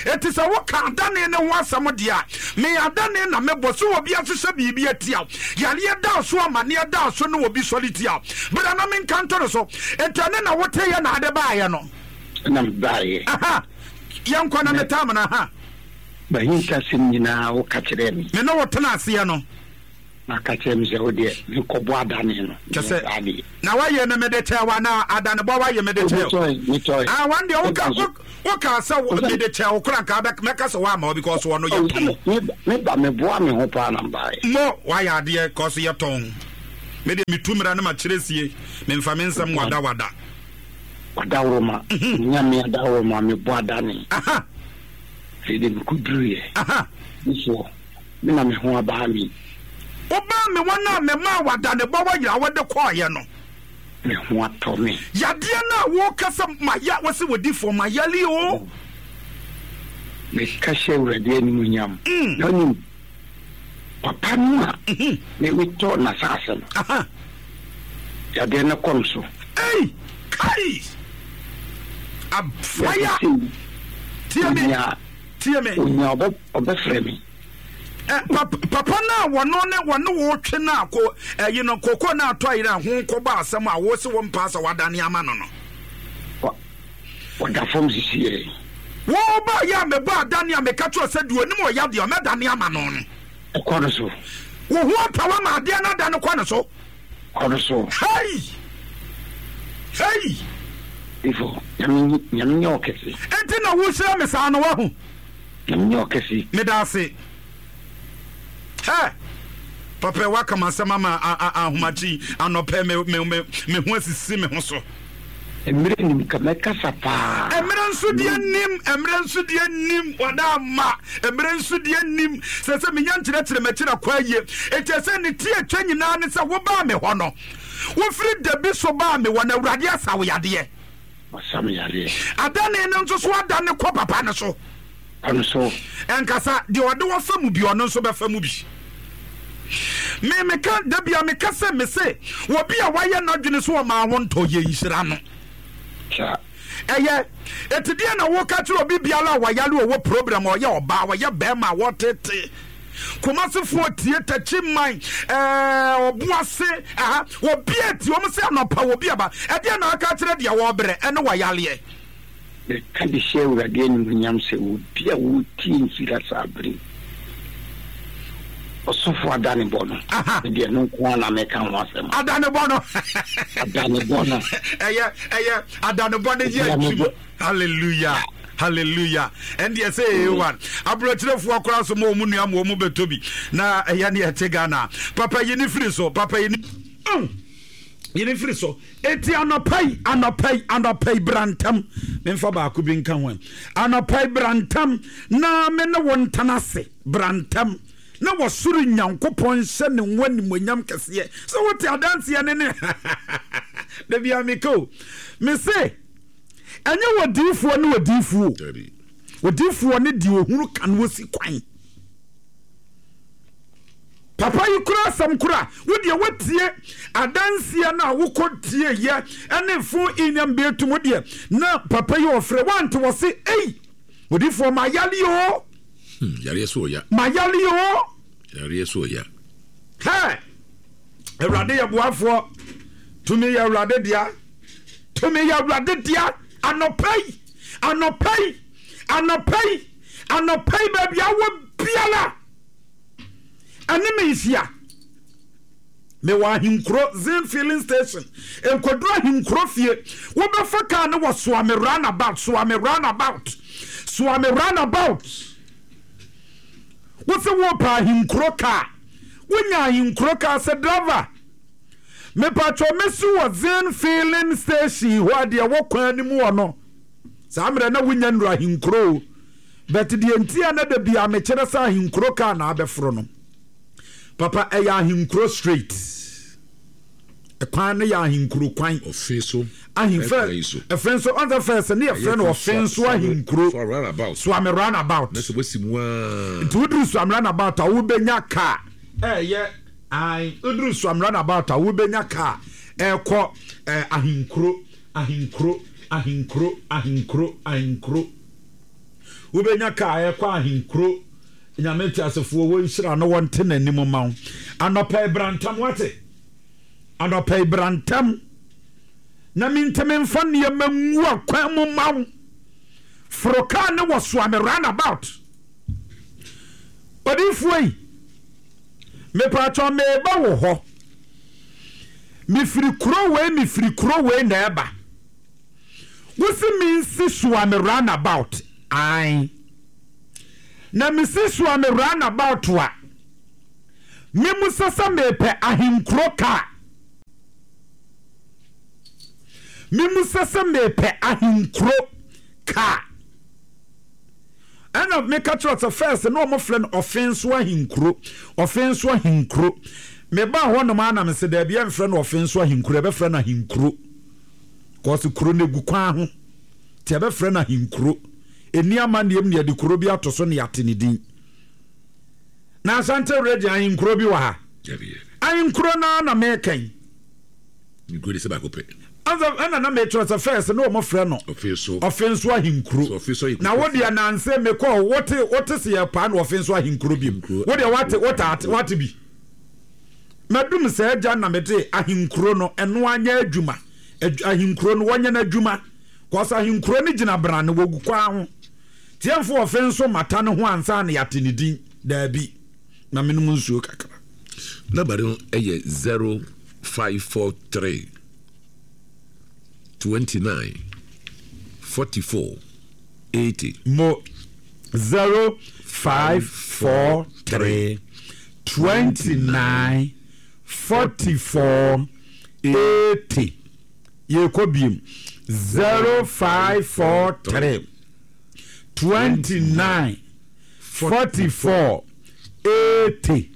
Enti sɛ woka adane no ho asɛm deɛ a, me adane na mebɔ. Sɛ obi ahyehyɛ biribi atia wo, yareɛ da so, amaneɛ da so ne obi sɔre tia wo, bra na menka nto no so. Enti ɛno na woteeɛ na ade baeɛ no? Ɛna mebaeɛ. Aha, yɛnkɔ na metaa mo no. Aha. M'ahintasɛm nyinaa woka kyerɛɛ me. Me ne wo tena aseɛ no. Na ka kyerɛ me sɛ, Wo deɛ, menkɔbɔ adane no. Kyɛ sɛ, na woayɛ no mede kyɛɛ wo anaa? Adanebɔ woayɛ mede kyɛɛ wo? Metɔe. Ah, wɔn deɛ woka woka sɛ mede kyɛɛ wo koraa nka mɛka sɛ woama wo because wɔn no yɛtɔn. Meba meboa me ho paa na mbaeɛ. Mo woayɛ adeɛ cause yɛtɔn. Me deɛ metu mmara no makyerɛ sie, memfa me nsɛm wadawada. Wadaworoma, Nyame adaworoma mebɔ adane. Aha. Afei deɛ mekɔduruiɛ. Aha. Mesoɔ. Me na me ho abaa me. Wobaa me hɔ no a memaa wo adanebɔ wɔ yera wode kɔeɛ no. Me ho atɔ me. Yadeɛ no a woka sɛ maya, wose wodifoɔ mayale o. Meka hyɛ Awurade animuonyam. Na wonim, papa no a meretɔ n'asase no, yadeɛ no kɔ no so. Ei! Kai! Afaya! Tie me! Tie me! Onya ɔbɛfrɛ me. Ɛ, papa no a wɔno ne wɔne wo twe no a ko ɛyi no koko no atɔ ayerɛ a ho kɔbɔ asɛm a wo se wo mpaa sɛ wadane ama no no. Ɔda fam sisiɛ. Wo ba yɛ a mebɔ adane a meka kyerɛ sɛ deɛ onim ɔya deɛ ɔmɛdane ama no no. Ɛkɔ no so. Wo ho atɔ wo ama adeɛ no adane kɔ no so. Kɔ no so. Hey! Hey! Ifo, nyame nyame nyɛ ɔkɛse. Enti na wohyira me saa no wahu. Nyame nyɛ ɔkɛse. Meda ase. Hɛ! Papa waka m'asɛm ama ahomakye anɔpɛ me me me me ho asisi me ho so. Mmerɛ nim ka mɛkasa paa. Mmerɛ nso deɛ nim, mmerɛ nso deɛ nim, wada ama. Mmerɛ nso deɛ nim, sɛ sɛ menya nkyerɛkyerɛ m'akyiri akɔ ayie. Enti ɛsɛ ne ti atwa nyinaa ne sɛ wobaa me hɔ no, wofiri dabi so baa me hɔ no, Awurade asa wo yadeɛ. Wasa me yareɛ. Adane no nso so adane kɔ papa no so. Kɔ no so. Ɛnkasa, deɛ ɔde wo fa mu bi, ɔno nso bɛfa mu bi. Me meka da bia meka sɛ mese obi a wayɛ n'adwene so ɔmaa wo ntɔ yɛ nhyira no. Ɛyɛ eti deɛ na woka kyerɛ obi biara a wayare ɔwɔ problem ɔyɛ ɔbaa ɔyɛ bɛrima a wɔtete Kumasefoɔ tie takyi man ɛɛ ɔboase aha obi eti wɔn sɛ anɔpa obi aba ɛdeɛ na aka kyerɛ deɛ wɔbrɛ ɛne wayareɛ. Meka de hyɛ Awurade animuonyam sɛ obi a ɔretie nhyira saa bere yi, ɔsɔfo adanebɔ no, me deɛ ɛno nko ara na meka ho asɛm. Adanebɔ no. Adanebɔ no. Ɛyɛ ɛyɛ adanebɔ no yɛ adwuma. Hallelujah. Hallelujah. Ɛndeɛ sɛ ɛyɛ one. Aburokyerefoɔ koraa so ma wɔn nua ma wɔn bɛtɔ bi. Na ɛyɛ ne ɛte Ghana. Papa yi ne firi so. Papa yi ne. Oh. Yi ne firi so. Enti anɔpa yi, anɔpa yi, anɔpa yi, bra ntɛm. Memfa baako bi nka ho ɛ. Anɔpa yi, bra ntɛm na me ne wo ntena ase. Bra ntɛm na wɔsoro Nyankopɔn nhyɛ ne ho animuonyam kɛseɛ. Sɛ wote adanseɛ ne ne da bia meka o. Me se, ɛnyɛ odiyifoɔ ne odiyifoɔ o. Odiyifoɔ ne deɛ ohunu ka no osi kwan. Papa yi kura asɛm koro a wo deɛ woatie adanseɛ no a wokɔ tie yɛ ɛne fo inyam beetum wo deɛ na papa yi ɔfrɛ wante wɔ se ei odifoɔ ma yale o. Hmm, yareɛ so ɔya. Ma yale o. Yareɛ so ɔya. Hɛ! Awurade yɛ boafoɔ. Tumi yɛ Awurade dea. Tumi yɛ Awurade dea. Anɔpa yi, anɔpa yi, anɔpa yi, anɔpa yi baabi awɔ biara. Ɛne me nhyia. Mewɔ Ahenkuro Zin Filling Station. Nkoduru Ahenkuro fie. Wobɛfa kaa ne wɔ Soame Runabout, Soame Runabout, Soame Runabout. Wose wopɛ Ahenkuro kaa. Wonya Ahenkuro kaa sɛ driver. Mepatwɔ mesi wɔ Zin Filling Station hɔ a deɛ ɛwɔ kwan no mu hɔ no. Saa mmerɛ na wonya nnuru Ahenkuro o. But deɛ nti a na da biara mekyerɛ sɛ ahenkuro car na abɛforo no, papa ɛyɛ ahenkuro straight. Ɛkwan no yɛ ahenkuro kwan. Ɔfe so. Ahemfɛ ɛfɛ nso ɔn sɛ fɛs ne yɛfrɛ no ɔfe nso ahenkuro. Suame roundabout. Na sɛ wasi mu aa. Nti woduru Suame roundabout a wobɛnya car ɛyɛ ae woduru Suame roundabout a wobɛnya car ɛkɔ ɛɛ ahenkuro ahenkuro ahenkuro ahenkuro ahenkuro. Wobɛnya kaa ɛkɔ ahenkuro. Nyame teasefoɔ wɔ nhyira no wɔnte n'anim ma wo. Anɔpa yi bra ntɛm wate. Anɔpa yi bra ntɛm na mentumi mfa nneɛma ngu akwan mu ma wo. Foro kaa ne wɔ soa me round about. Odiyifoɔ yi, mepatwɔ meba wo hɔ. Mefiri kuro wei mefiri kuro wei na ɛba. Wose mensi Suame round about ae. Na mesi Suame round about a, memusa sɛ mepɛ ahenkuro kaa. Memusa sɛ mepɛ ahenkuro kaa. Ɛna meka kyerɛ sɛ first na wɔn frɛ no ɔfenso ahenkuro, ɔfenso ahenkuro. Mebaa hɔnom a na mese daabi ɛmfrɛ no ɔfenso ahenkuro, ɛbɛfrɛ no ahenkuro. Cause kuro no egu kwan ho nti yɛbɛfrɛ no ahenkuro. Ɛnni amanneɛm na yɛde kuro bi ato so na yɛate ne din. Na Asante region ahenkuro bi wɔ ha? Ahenkuro no ara na meka yi. Nkuro de sɛ baako pɛ. Ɛna na mekyerɛ sɛ first na wɔn frɛ no Ɔfenso ahenkuro. Na wo deɛ nanse mekɔ wote wote se yɛ paa na Ɔfenso ahenkuro bi mu. Wo deɛ wate wote wate bi. Madum sɛ agya na mede ahenkuro no ɛno anyɛ adwuma. Ahenkuro no wɔnyɛ n'adwuma. Kɔs ahenkuro no gyina brane wɔgu kwan ho. Tiɛmfo Ɔfenso mata ne ho ansa na yɛate ne din. Daabi. Na menom nsuo kakra. Number no yɛ 0543 29 44 80. Mo 0543 29 44 80. Yɛkɔ biem 0543 29 44 80.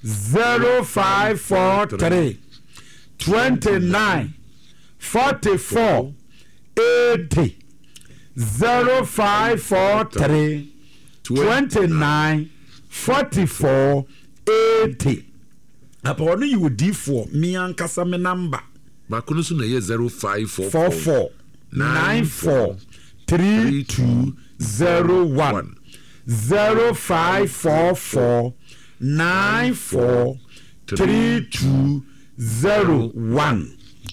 0543 29 44 80 0543 29 44 80 Apa ɔno yɛ odiifoɔ me ankasa me namba. Baako no nso na ɛyɛ 0544 44 94 32 01 0544 94 32 01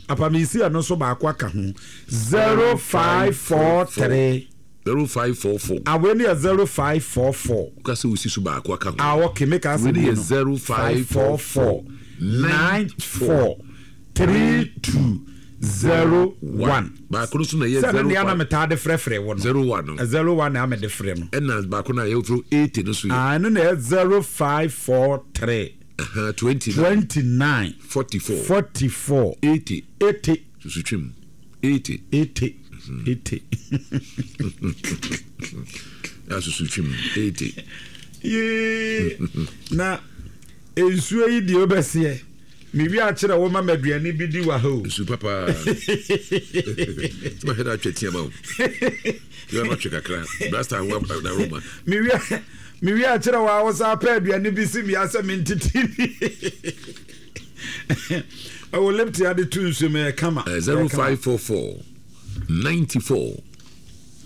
Apa mesi ɛno nso baako aka ho 0543 0544. Ah, wei no yɛ 0544. Woka sɛ wosi so baako aka ho. Ah, okay, meka sɛ Wei no yɛ no. 0544 94 32 01. Baako no so na ɛyɛ Sɛ ɛno nea na 05 metaa de frɛfrɛ wo no. 01 no. 01 na mede frɛ no. Ɛna baako no a yɛfrɛ 80 no so yɛ. Ah, ɛno na ɛyɛ 0543 Aha, 29 29 44 44 80 80 susu twem 80 80 80. Na susu twem 80. Yee, na nsuo yi deɛ wobɛseɛ. Mewie akyerɛ wo ma m'aduane bi di wɔ ha o. Nsu papa. Sɛ mahwɛ no atwa tia ma wo. Yɛ ma twe kakra. Blaster ho na roma. Mewie mewie akyerɛ wo a wo saa pɛ aduane bi si mia sɛ mentete bi. Ɛwɔ lipti ade to nsuo mu ɛyɛ kama. 0544 94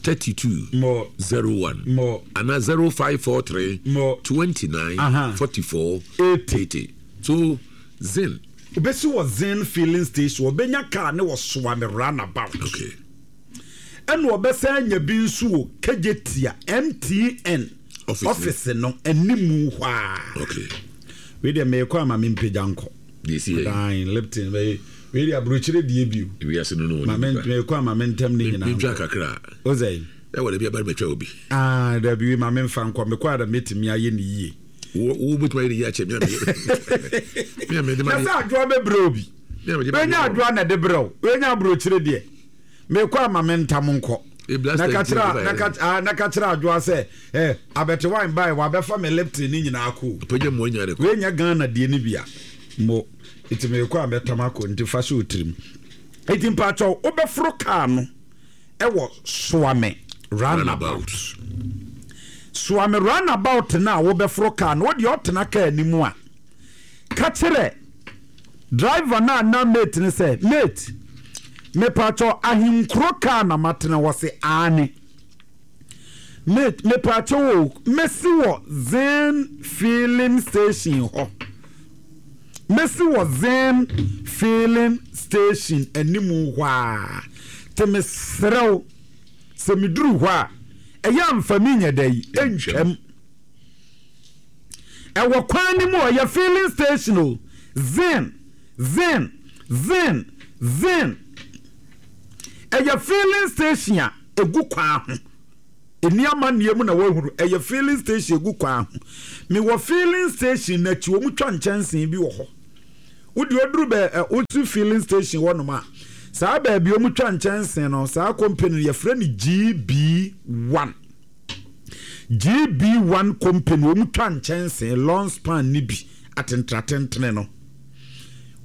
32 Mo 01 mo ana 0543 mo 29 Aha. 44 80. 80. So Zen. Obesi wɔ Zen filling station ɔbɛnya car ne wɔ Soame runabout. Okay. Ɛna ɔbɛsan anya bi nso wɔ Kejetia MTN Office office no animu hɔ a. Okay. Wei deɛ meekɔ ama me mpagya nkɔ. Deɛ esi yɛ. Dan Lipton bɛyɛ wei deɛ aburokyire deɛ bio. Wiase no no. Ma me meekɔ ama me ntɛm ne nyinaa. Mentwa kakra. O sɛ yi. Ɛwɔ dabi aba mɛtwa obi. Ah dabi wei ma me nfa nkɔ mekɔ a da mɛtumi ayɛ ne yie. Wo wo bɛtumi ayɛ ne yie akyɛ me a me a mede ma. Na sɛ adwoa bɛbrɛ obi. Wenya adwoa na ɛde brɛ wo. Wenya aburokyire deɛ. Mekɔ ama me ntam nkɔ. Na ka kyerɛ na ka ah na ka kyerɛ adwoa sɛ eh abɛte wine bae wabɛfa me Lipton ne nyinaa kɔ. Pagya mu anya de kɔ. Wenya Ghana deɛ ne bia. Mo nti mekɔ a mɛtam akɔ nti fa hyɛ otirim. Nti mpakyɛw wobɛforo kaa no ɛwɔ Soame runabout. Soame runabout no a wobɛforo kaa no wodeɛ ɔtena kaa no mu a ka kyerɛ driver no anaa mate no sɛ mate mepakyɛw ahenkuro kaa na matena wɔ se aane mate mepakyɛw o mɛsi wɔ Zen filling station hɔ mɛsi wɔ Zen filling station animu hɔ a te mesrɛ wo sɛ meduru hɔ a ɛyɛ amfa mi nyɛ dɛ yi ɛntwam Ɛwɔ kwan no mu ɔyɛ filling station o. Zin, zin, zin, zin. Ɛyɛ filling station a egu kwan ho. Ɛni amanneɛ mu na wahunu. Ɛyɛ filling station egu kwan ho. Mewɔ filling station n'akyi wɔn twa nkyɛnsee bi wɔ hɔ. Wode oduru bɛ ɛ wosi filling station hɔ nom a saa baabi wɔn twa nkyɛnsee no saa company no yɛfrɛ no GB1. GB one company wɔn twa nkyɛnsee long span ne bi atentenatentene no.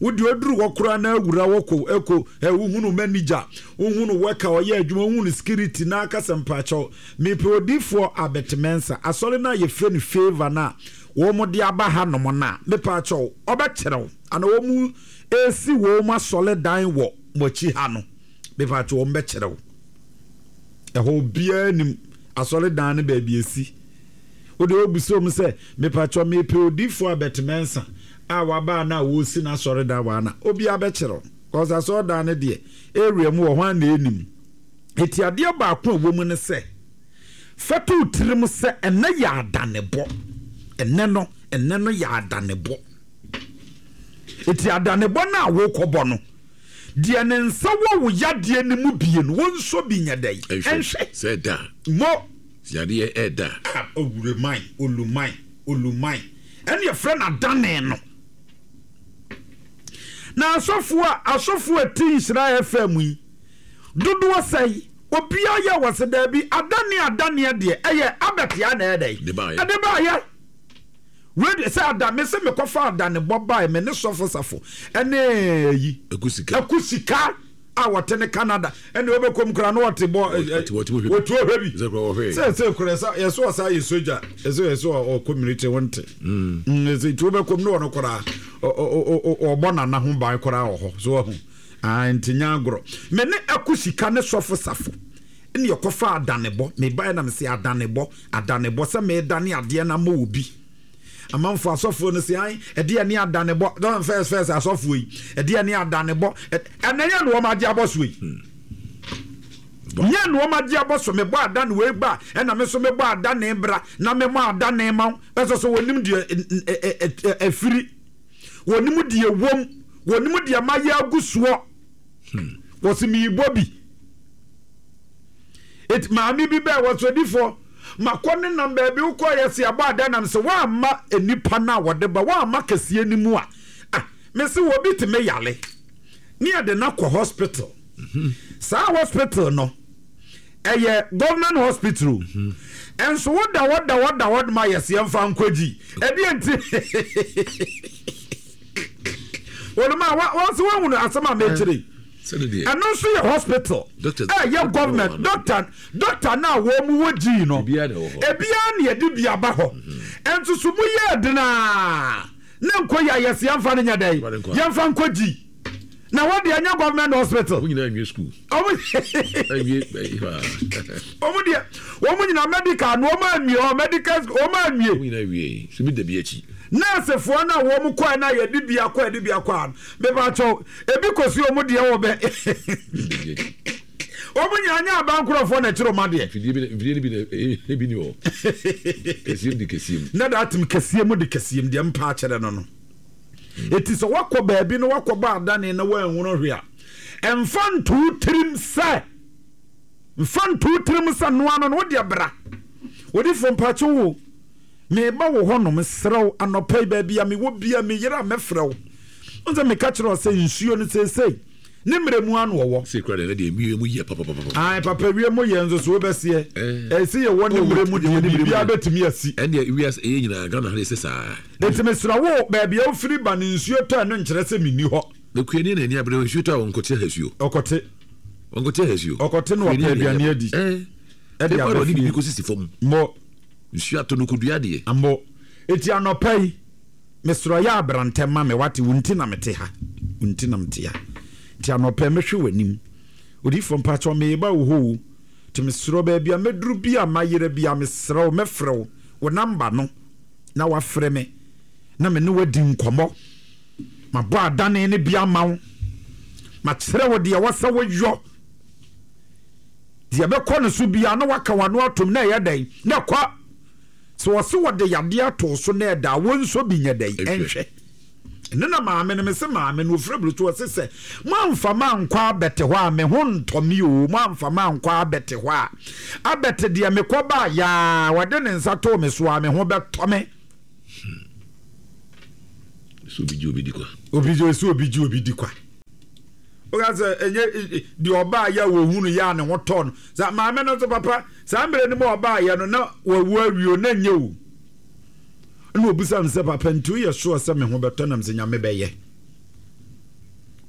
Wo deɛ oduru hɔ koraa na awura hɔ kɔ ɛkɔ ɛ wohunu manager, wohunu worker ɔyɛ adwuma, wohunu security na aka sɛ mpakyɛw mepɛ odiifoɔ Albert Mensah asɔre no a yɛfrɛ no Favour no a wɔn de aba ha nom no a mepakyɛw ɔbɛkyerɛ wo ana wɔn ɛresi wɔn asɔre dan wɔ mo akyi ha no mepakyɛw wɔn bɛkyerɛ wo ɛhɔ obiara nim asɔre dan no baabi esi. Wo deɛ wobisa wɔn sɛ, Mepakyɛw, mepɛ odiyifoɔ Albert Mensah a waba a na wɔresi n'asɔredan wɔ ha no a, obiara bɛkyerɛ wo. Cause asɔredan no deɛ, area mu wɔ hɔ a na ɛnim. Enti adeɛ baako a ɛwɔ mu ne sɛ, fa to wo tirim sɛ ɛnnɛ yɛ adanebɔ. Ɛnnɛ no, ɛnnɛ no yɛ adanebɔ. Enti adanebɔ no a wokɔbɔ no, deɛ ne nsa wɔ wo yadeɛ no mu bie no, wɔnsɔ bi nyɛ dɛn? Ɛnhwɛ. Sɛ ɛda a. Mo. Yadeɛ ɛda. A owureman, oluman, oluman, ɛne yɛfrɛ no adane no. Na asɔfoɔ a asɔfoɔ a ɛte Nhyira FM yi dodoɔ sɛe obiara yɛ wɔ se daabi adane adaneɛ deɛ ɛyɛ abɛtea na ɛyɛ dɛn ɛde baayɛ wei sɛ ada me se mekɔfa adane bɔ bae me ne sɔfo safo ɛne yi akusika a wɔte ne Canada ɛna wɔbɛkɔ mu koraa na wɔte bɔ wɔtu ɔhwɛ bi sɛ sɛ kora sɛ yɛsɛ ɔsa yɛ sogya yɛsɛ yɛsɛ ɔkɔ military wɔnte ɛsɛ nti wɔbɛkɔ mu na ɔno koraa ɔbɔ nana ho ban koraa wɔ hɔ so wahu nti nya agorɔ me ne ɛko sika ne sɔfo safo ɛne yɛkɔfa adanebɔ mebaeɛ na mese adanebɔ adanebɔ sɛ medane adeɛ no ama obi Amanfoɔ asɔfoɔ no se ae ɛdeɛ ne adanebɔ dɔn fɛs fɛs asɔfoɔ yi ɛdeɛ ne adanebɔ ɛnɛ yɛ na wɔn agye abɔ so yi nyɛ na wɔn agye abɔ so mebɔ adane wei ba ɛna me so mebɔ adane bra na mebɔ adane ma wo ɛsɛ so wɔnim deɛ ɛfiri wɔnim deɛ wɔm wɔnim deɛ mayɛ agu soɔ wɔsi meyibɔ bi Eti maame bi bɛɛ wɔ sodifoɔ makɔ ne nam baabi wokɔ yɛ se abɔ ada nam sɛ woamma nnipa no a wɔde ba woamma kɛseɛ no mu a ah mese wɔ bi tumi yale ne yɛde no akɔ hospital mhm. saa hospital no ɛyɛ government hospital mhm. ɛnso woda hɔ da hɔ da hɔ ma yɛse yɛmfa nkɔgyi ɛdeɛ nti wɔn a wɔn sɛ wɔn asɛm a mɛkyerɛ yi ɛno nso yɛ hospital ɛyɛ government doctor doctor no a wɔn mu wɔ gyii no ebiara na yɛde bi aba hɔ ɛnso so mu yɛ denaa ne nkɔ yɛ ayɛsɛ yɛnfa no nyɛ dɛ yɛnfa nkɔ gyi na hɔ deɛ ɛnyɛ government hospital. Wɔn nyinaa nwie school. Wɔn deɛ wɔn nyinaa medical no wɔn anwie hɔ medical school wɔn anwie. Wɔn nyinaa wie so bi da bi akyi. Nɛɛsefoɔ no a wɔn kɔɛ no a yɛde bi akɔ yɛde bi akɔ ano mepakyɛw ebi kɔsi wɔn deɛ wɔ bɛ wɔn nyinaa nyɛ aban nkorɔfoɔ na ɛkyerɛ wɔn adeɛ. Mfidie bi mfidie no bi na ebi ni hɔ kɛseɛ mu de kɛseɛ mu. Na da atem kɛseɛ mu de kɛseɛ mu deɛ mpa akyerɛ no no eti sɛ wakɔ baabi na wakɔ bɔ adane na wanhunu hwee a ɛnfa nto tirim sɛ. Mfa nto wo tirim sɛ noa no no, wo deɛ bra. Odifoɔ mpakyɛw o, meba wo hɔ nom, mesrɛ wo, anɔpa yi baabi a mewɔ bia me yere a mɛfrɛ wo. Wohu sɛ meka kyerɛ wo sɛ nsuo no seesei ne mmerɛ mu ano ɔwɔ. Sei koraa deɛ ɛnɛ deɛ wie mu yɛ papapapapa. Ae papa wie mu yɛ nso so wobɛseɛ. Ɛsɛ yɛwɔ ne mmerɛ mu deɛ biribiara bɛtumi asi. Ɛndeɛ wiase ɛyɛ nyinaa Ghana ha deɛ ɛsɛ saa. Enti mesrɛ wo baabi a wofiri ba no nsuo tɔ ɛno nkyerɛ sɛ menni hɔ. Na kuani na ani abere nsuo tɔ a ɔnkɔte ahasuo. Ɔkɔte. Ɔnkɔte ahasuo. Ɔkɔte na ɔpɛ aduane adi. Ɛde aba fie. Biribi kɔsisi fam. Mo. Nsuo atɔ no kɔdua adeɛ. Mo. Eti anɔpa yi, mesrɛ yɛ abrantɛ ma me wate, wo nti na mete ha. Wo nti na mete ha. Nti anɔpa yi mɛhwɛ w'anim. Odiyifoɔ mpakyɛw meba wo hɔ o. Nti mesrɛ baabi a mɛduru bi a mayera bi a mesrɛ wo mɛfrɛ wo, wo namba no na wafrɛ me na me ne wo adi nkɔmmɔ. Mabɔ adane no bi ama wo. Makyerɛ wo deɛ ɛwɔ sɛ woyɔ. Deɛ ɛbɛkɔ no so biara na waka w'ano atom na ɛyɛ dɛn? Na ɛkɔ. Sɛ wɔse wɔde yadeɛ ato wo so na ɛda a, wo nso bi nyɛ dɛn? Ɛnhwɛ. Ɛno na maame no, mese maame no, ɔfiri aburokyire, ɔse sɛ moamfa mankɔ abɛte hɔ a, me ho ntɔ me o, moamfa mankɔ abɛte hɔ a, abɛte deɛ mekɔ baa yaa, wɔde ne nsa too me so a, me ho bɛtɔ me. Hmm. Sɛ obi gye obi di kwa. Obi gye sɛ obi gye obi di kwa. Woka sɛ ɛnyɛ deɛ ɔbaa yɛ a wɔhunu yɛ a ne ho tɔ no. Sɛ maame no nso papa saa mmerɛ no mu a ɔbaa yɛ no na wawu awie o na nyɛ o. Ɛna obisa me sɛ papa nti woyɛ sure sɛ me ho bɛtɔ nam sɛ nyame bɛyɛ.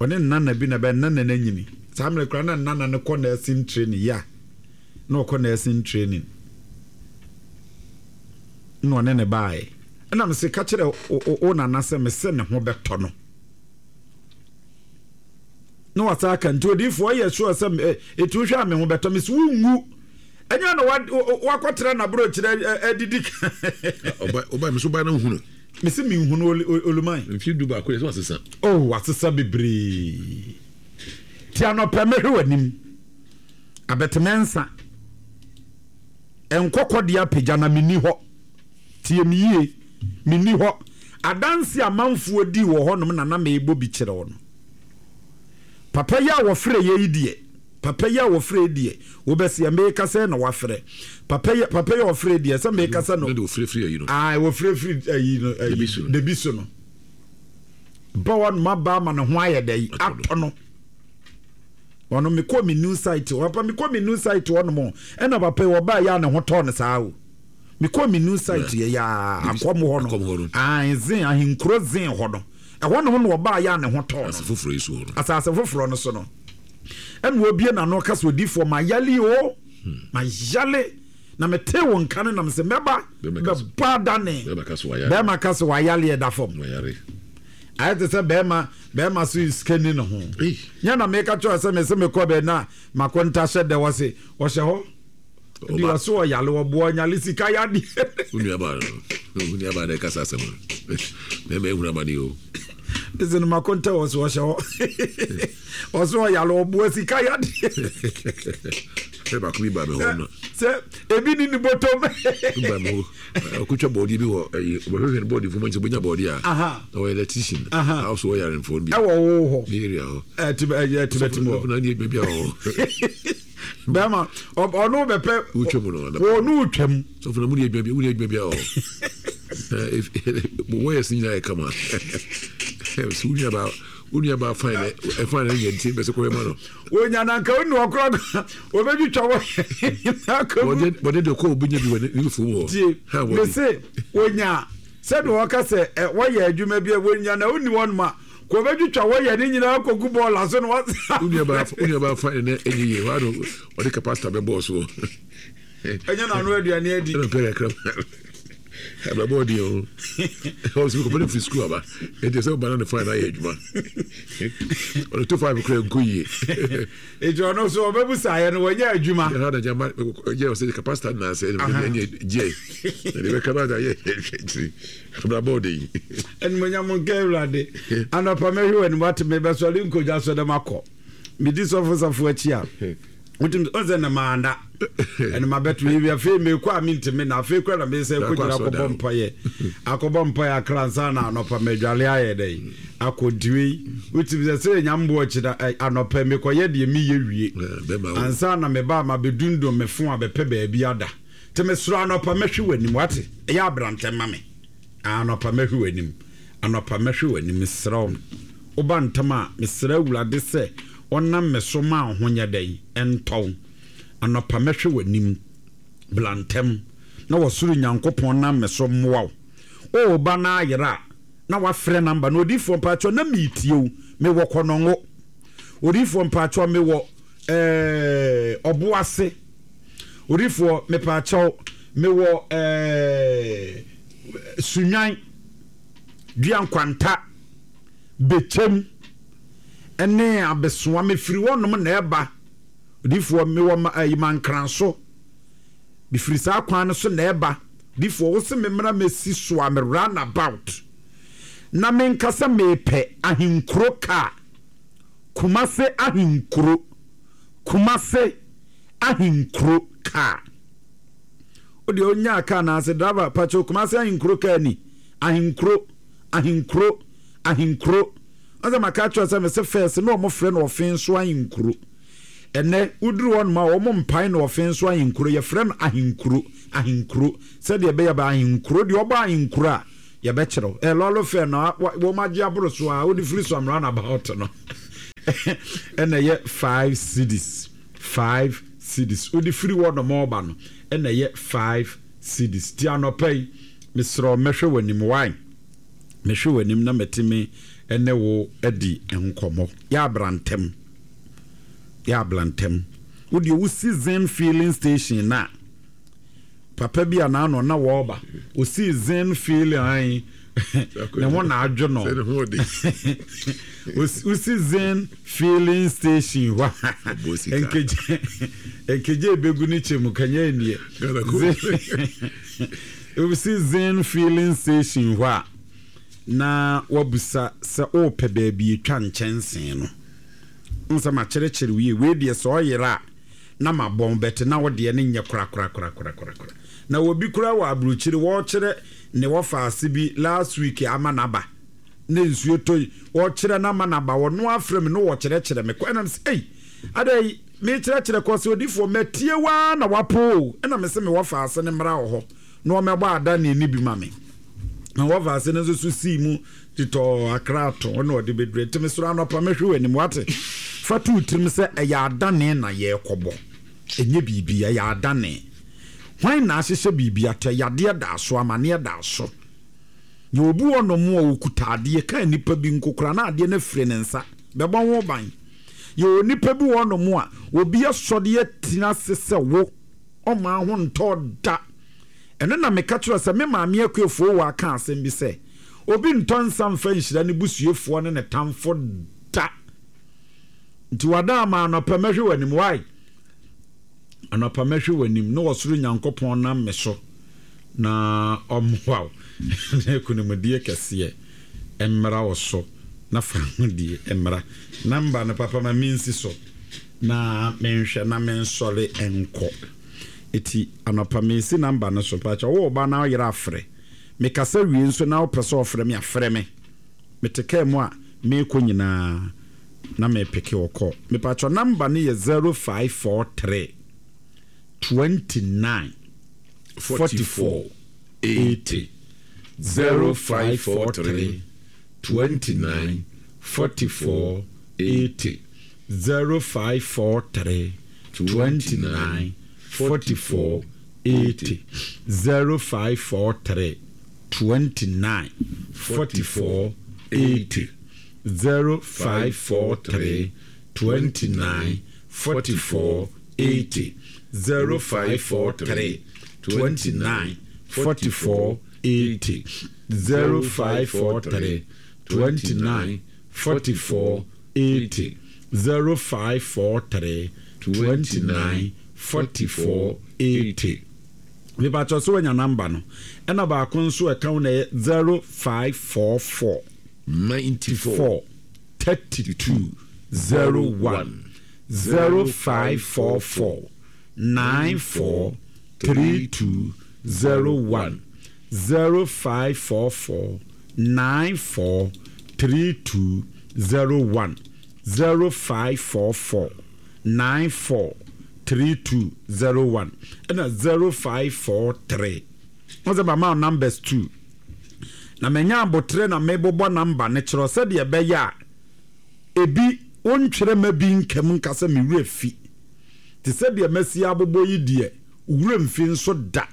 Ɔne ne nana bi na ɛbɛn nana no anyini. Saa mmerɛ koraa na nana no kɔ nursing training ya na ɔkɔ nursing training na ɔne ne baeɛ. Ɛna mese ka kyerɛ wo nana sɛ mese ne ho bɛtɔ no. Na wasa aka nti odiifoɔ ɔyɛ sure sɛ ɛti wohwɛ a me ho bɛtɔ me so wonwu. Ɛnyɛ na wakɔtena n'aborɔkyerɛ adidi ka. Ɔba me so ba no nhunu. Mese menhunu Oluman. Mfeɛ 11 yɛ sɛ wasesa. Oh wasesa bebree. Ti anɔpɛ mɛhwɛ w'anim. Abɛtemɛnsa. Nkɔkɔ deɛ apagya na menni hɔ. Tie me yie. Menni hɔ. Adanse a amanfoɔ dii wɔ hɔnom na na merebɔ bi kyerɛ wo no. Papa yi a wɔfrɛ yɛ yi deɛ, papa yi a wɔfrɛ yi deɛ, wobɛseɛ meka sɛ na wafrɛ. Papa yi, papa yi a wɔfrɛ yi deɛ, sɛ meka sɛ no. Ne de wɔfrɛfiri ayi no. Ae, wɔfrɛfiri ayi no, ayi, debi so no. Ba wɔn ma ba ama ne ho ayɛ dɛ yi, atɔ no. Ɔno mekɔ me new site hɔ, papa mekɔ me new site hɔ nom, ɛna papa yi wɔbaa yɛ a ne ho tɔɔ no saa o. Mekɔ me new site yɛ yɛ a, akɔm hɔ no. Ae, zen, ahenkuro zen hɔ no. Ɛhɔ nom na ɔbaa yɛ a ne ho tɔɔ no. Asase foforɔ yi so hɔ no. Asase foforɔ no so no. Ɛna ɔbie n'ano ka sɛ odiifoɔ mayale o, mayale na metee wo nka no nam sɛ mɛba bɛbɔ adane. Bɛrima ka sɛ wayale ɛda fam. Ayɛ te sɛ bɛrima bɛrima so sika ni ne ho. Nyɛ na meka kyerɛ sɛ mese mekɔ bɛ na makonta hyɛ dɛ wɔ se ɔhyɛ hɔ. Di ɔso ɔyale ɔboa ɔnyale sika yadeɛ. Wo nua baa no wo nua baa na ɛkasa asɛm no mɛma ehunu amane o. Ɛsɛ no mako ntɛ wɔ so ɔhyɛ hɔ ɔso ɔyale ɔboa sika yadeɛ. Sɛ baako bi ba mi hɔ no. Sɛ ebi ni ne bɔtɔm. Bi ba mi hɔ ɔkotwa bɔɔdeɛ bi wɔ ɛyi ɔbɛhwehwɛ no bɔɔde fom nti ɔbɛnya bɔɔdeɛ a. Na ɔyɛ electrician. A ɔso ɔyare nfɔn bi. Ɛwɔ wo hɔ. Ne area hɔ. Ɛti ɛti bɛti mu hɔ. Na ne adwuma bi a wɔ hɔ. Bɛrima ɔno bɛpɛ. Wotwa mu no. Wɔn wotwa mu. Sɔfo na mu ni adwuma bi mu ni adwuma bi a ɔ. Wɔyɛ si nyinaa yɛ kama. So wo nua wo nua ba fine na ɛfine na nyɛ nti bɛsɛ kɔyɛ ma no. Wonya na nka wonu ɔkorɔ wɔbɛtwitwa wɔ nyinaa Bɔde de kɔ obi nya bi wɔ ne fom hɔ. Tie mese wonya sɛdeɛ wɔka sɛ wɔyɛ adwuma bi a wonya na wonni hɔ nom a Kò bɛtwitwa wɔ yɛ ne nyinaa kɔgu bɔɔla so na wasa. Wo nua baa fa ne ɛnyɛ yie hɔ ano ɔde kapasita bɛbɔɔ soɔ. Ɛnyɛ n'ano aduane adi. Ɛna pɛ kakra abrabɔ ɔdi o. Ɔsɛ kɔpɛ ne firi sukuu aba ɛnti sɛ ɔba na ne fain ayɛ adwuma. Ɔde to fain kura nkɔ yie. Eti ɔno so ɔbɛbu saayɛ no wɔnyɛ adwuma. Ɛha na gyama yɛ ɔsɛ kapasita na asɛ ɛnyɛ gye. Ɛde bɛka ba da yɛ hwɛ kyiri. Abrabɔ ɔde yi. Animonyam nka Awurade. Anɔpa mɛhwɛ w'anim wate me bɛsɔre nkogya so dɛ makɔ. Medi sɔfo safo akyi a. Wotim ɔsɛ na maanda. Ɛna mabɛto yi afei mekɔ a mentimi na afei kora na mesɛ kɔgyina akɔbɔ mpaeɛ. Akɔbɔ mpaeɛ akra nsa na anɔpa madwale ayɛ dɛ. Akɔ ntiwei. Wotim sɛ sɛ nya mboɔ akyi na anɔpa mekɔyɛ deɛ meyɛ wie. Ansa na meba a mabɛdundum me fo a bɛpɛ baabi ada. Nti mesrɛ anɔpa mɛhwe w'anim wate ɛyɛ abrantɛ ma me anɔpa mɛhwe w'anim anɔpa mɛhwe w'anim mesrɛ wo woba ntɛm a mesrɛ awurade sɛ ɔnam me so ma wo ho nyɛ dɛn ɛntɔ wo anɔpa mɛhwe w'anim bla ntɛm na wɔsoro Nyankopɔn nam me so mmoa wo o ba na ayera a na wafrɛ namba na odiifoɔ mpakyɛw na meetie wo mewɔ kɔnɔngo odiifoɔ mpakyɛw mewɔ ɛɛ ɔboase Odifoɔ mepaakyɛw mewɔ ɛɛ Sunwan, Dua Nkwanta, Bekyem ɛne Abesoa mefiri hɔ nom na ɛba. Odifoɔ mewɔ ma ɛyi Mankranso mefiri saa kwan no so na ɛba. Odifoɔ wose me mmra mɛsi so a me run about na menka sɛ mepɛ ahenkuro kaa Kumase ahenkuro Kumase ahenkuro kaa. Wo deɛ onyaa kaa na ase driver pakyɛw Kumase ahenkuro kaa ni ahenkuro ahenkuro ahenkuro ɔsɛ maka akyerɛ sɛ mese fɛs na wɔn frɛ no ɔfen so ahenkuro ɛnɛ woduru hɔ nom a wɔn mpae no ɔfen so ahenkuro yɛfrɛ no ahenkuro ahenkuro sɛdeɛ ɛbɛyɛ ba ahenkuro deɛ ɔbɔ ahenkuro a yɛbɛkyerɛw ɛ lɔɔre fɛ no wɔn agye aboro so a wode firi so am round about no ɛna ɛyɛ five cedis five cedis wode firi hɔ nom ɔba no ɛna ɛyɛ five cedis ti anɔpa yi mesrɛ mɛhwɛ w'anim why mehwɛ w'anim na mɛtumi. ne wo adi nkɔmmɔ. Yɛ abra ntɛm. Yɛ abra ntɛm. Wo deɛ wosi Zen filling station no a, papa bi a n'ano na wɔreba, osii Zen filling ayi, ne ho na adwo no. Wosi Zen filling station hɔ a, nkegye nkegye ebegu ne kyɛ mu kanya nie. Wosi Zen filling station hɔ a, na wabisa sɛ ɔrepɛ baabi atwa nkyɛnsee no. Wohu sɛ makyerɛkyerɛ wo yie. Wei deɛ sɛ ɔyera a na mabɔn bɛte na wo deɛ no nyɛ korakorakorakorakora. Na obi koraa wɔ aburokyire wɔrekyerɛ ne wɔfaase bi last week ama no aba na nsuo tɔ yi wɔrekyerɛ no ama no aba ɔno afrɛ me na ɔkyerɛkyerɛ me kɔ ɛna mesɛ ei adɛn yi mekyerɛkyerɛ kɔ sɛ odifoɔ matie wo ara na wapo o ɛna mese me wɔfaase no mmra wɔ hɔ na ɔmmɛbɔ adanneɛ no bi ma me. Na wɔfa ase no nso so sii mu tetɔɔ akra ato na ɔde bɛduru. Nti mesrɛ anɔpa mɛhwɛ w'anim wate. Fa to wo tirim sɛ ɛyɛ adane na yɛrekɔbɔ. Ɛnyɛ biribi, ɛyɛ adane. Hwan na ahyehyɛ biribi ato? Yadeɛ da so, amaneɛ da so. Yɛ obi wɔ nom a ɔkuta adeɛ ka nnipa bi nko koraa na adeɛ no afiri ne nsa. Bɛbɔ ho ban. Yɛ onipa bi wɔ nom a obi asɔre atina ase sɛ wo ɔmaa ho ntɔɔ da. Ɛno na meka kyerɛɛ sɛ me maame Akuafoɔ aka asɛm bi sɛ, Obi ntɔ nsa mfa nhyira ne busuafoɔ ne ne tamfo da. Nti wada ama anɔpa mɛhwɛ w'anim. Why? Anɔpa mɛhwɛ w'anim ne ɔsoro Nyankopɔn nam me so na ɔmmoa wo na akunimdie kɛseɛ mmra wo so na fa ahodie mmra. Namba no papa ma mensi so na menhwɛ na mensɔre nkɔ. Eti anɔpa mesi number no so mpakyɛw wowɔ ba na woyere afrɛ me kasa wie nso na wopɛ sɛ ɔfrɛ me a frɛ me mete car mu a meekɔ nyinaa na me peke wo call mepakyɛw number no yɛ 0543 29 44 80 0543 29 44 80 0543 29 44 80 0543 29 44 80 0543 29 44 80 0543 29 44 80 0543 29 44 80 0543 29 44 80 Mepakyɛw sɛ wanya number no ɛna baako nso ɛka ho na ɛyɛ 0544 94 32 01 0544 94 32 01 0544 94 32 01 0544 94 32 01 ɛna 0543 wọ́n sɛ mama numbers two na manya abotrɛ na mebobɔ number no kyerɛ sɛdeɛ ɛbɛyɛ a ebi wontwerɛ ma bi nkam nka sɛ me werɛ fi te sɛ deɛ masi abobɔ yi deɛ werɛ mfi nso da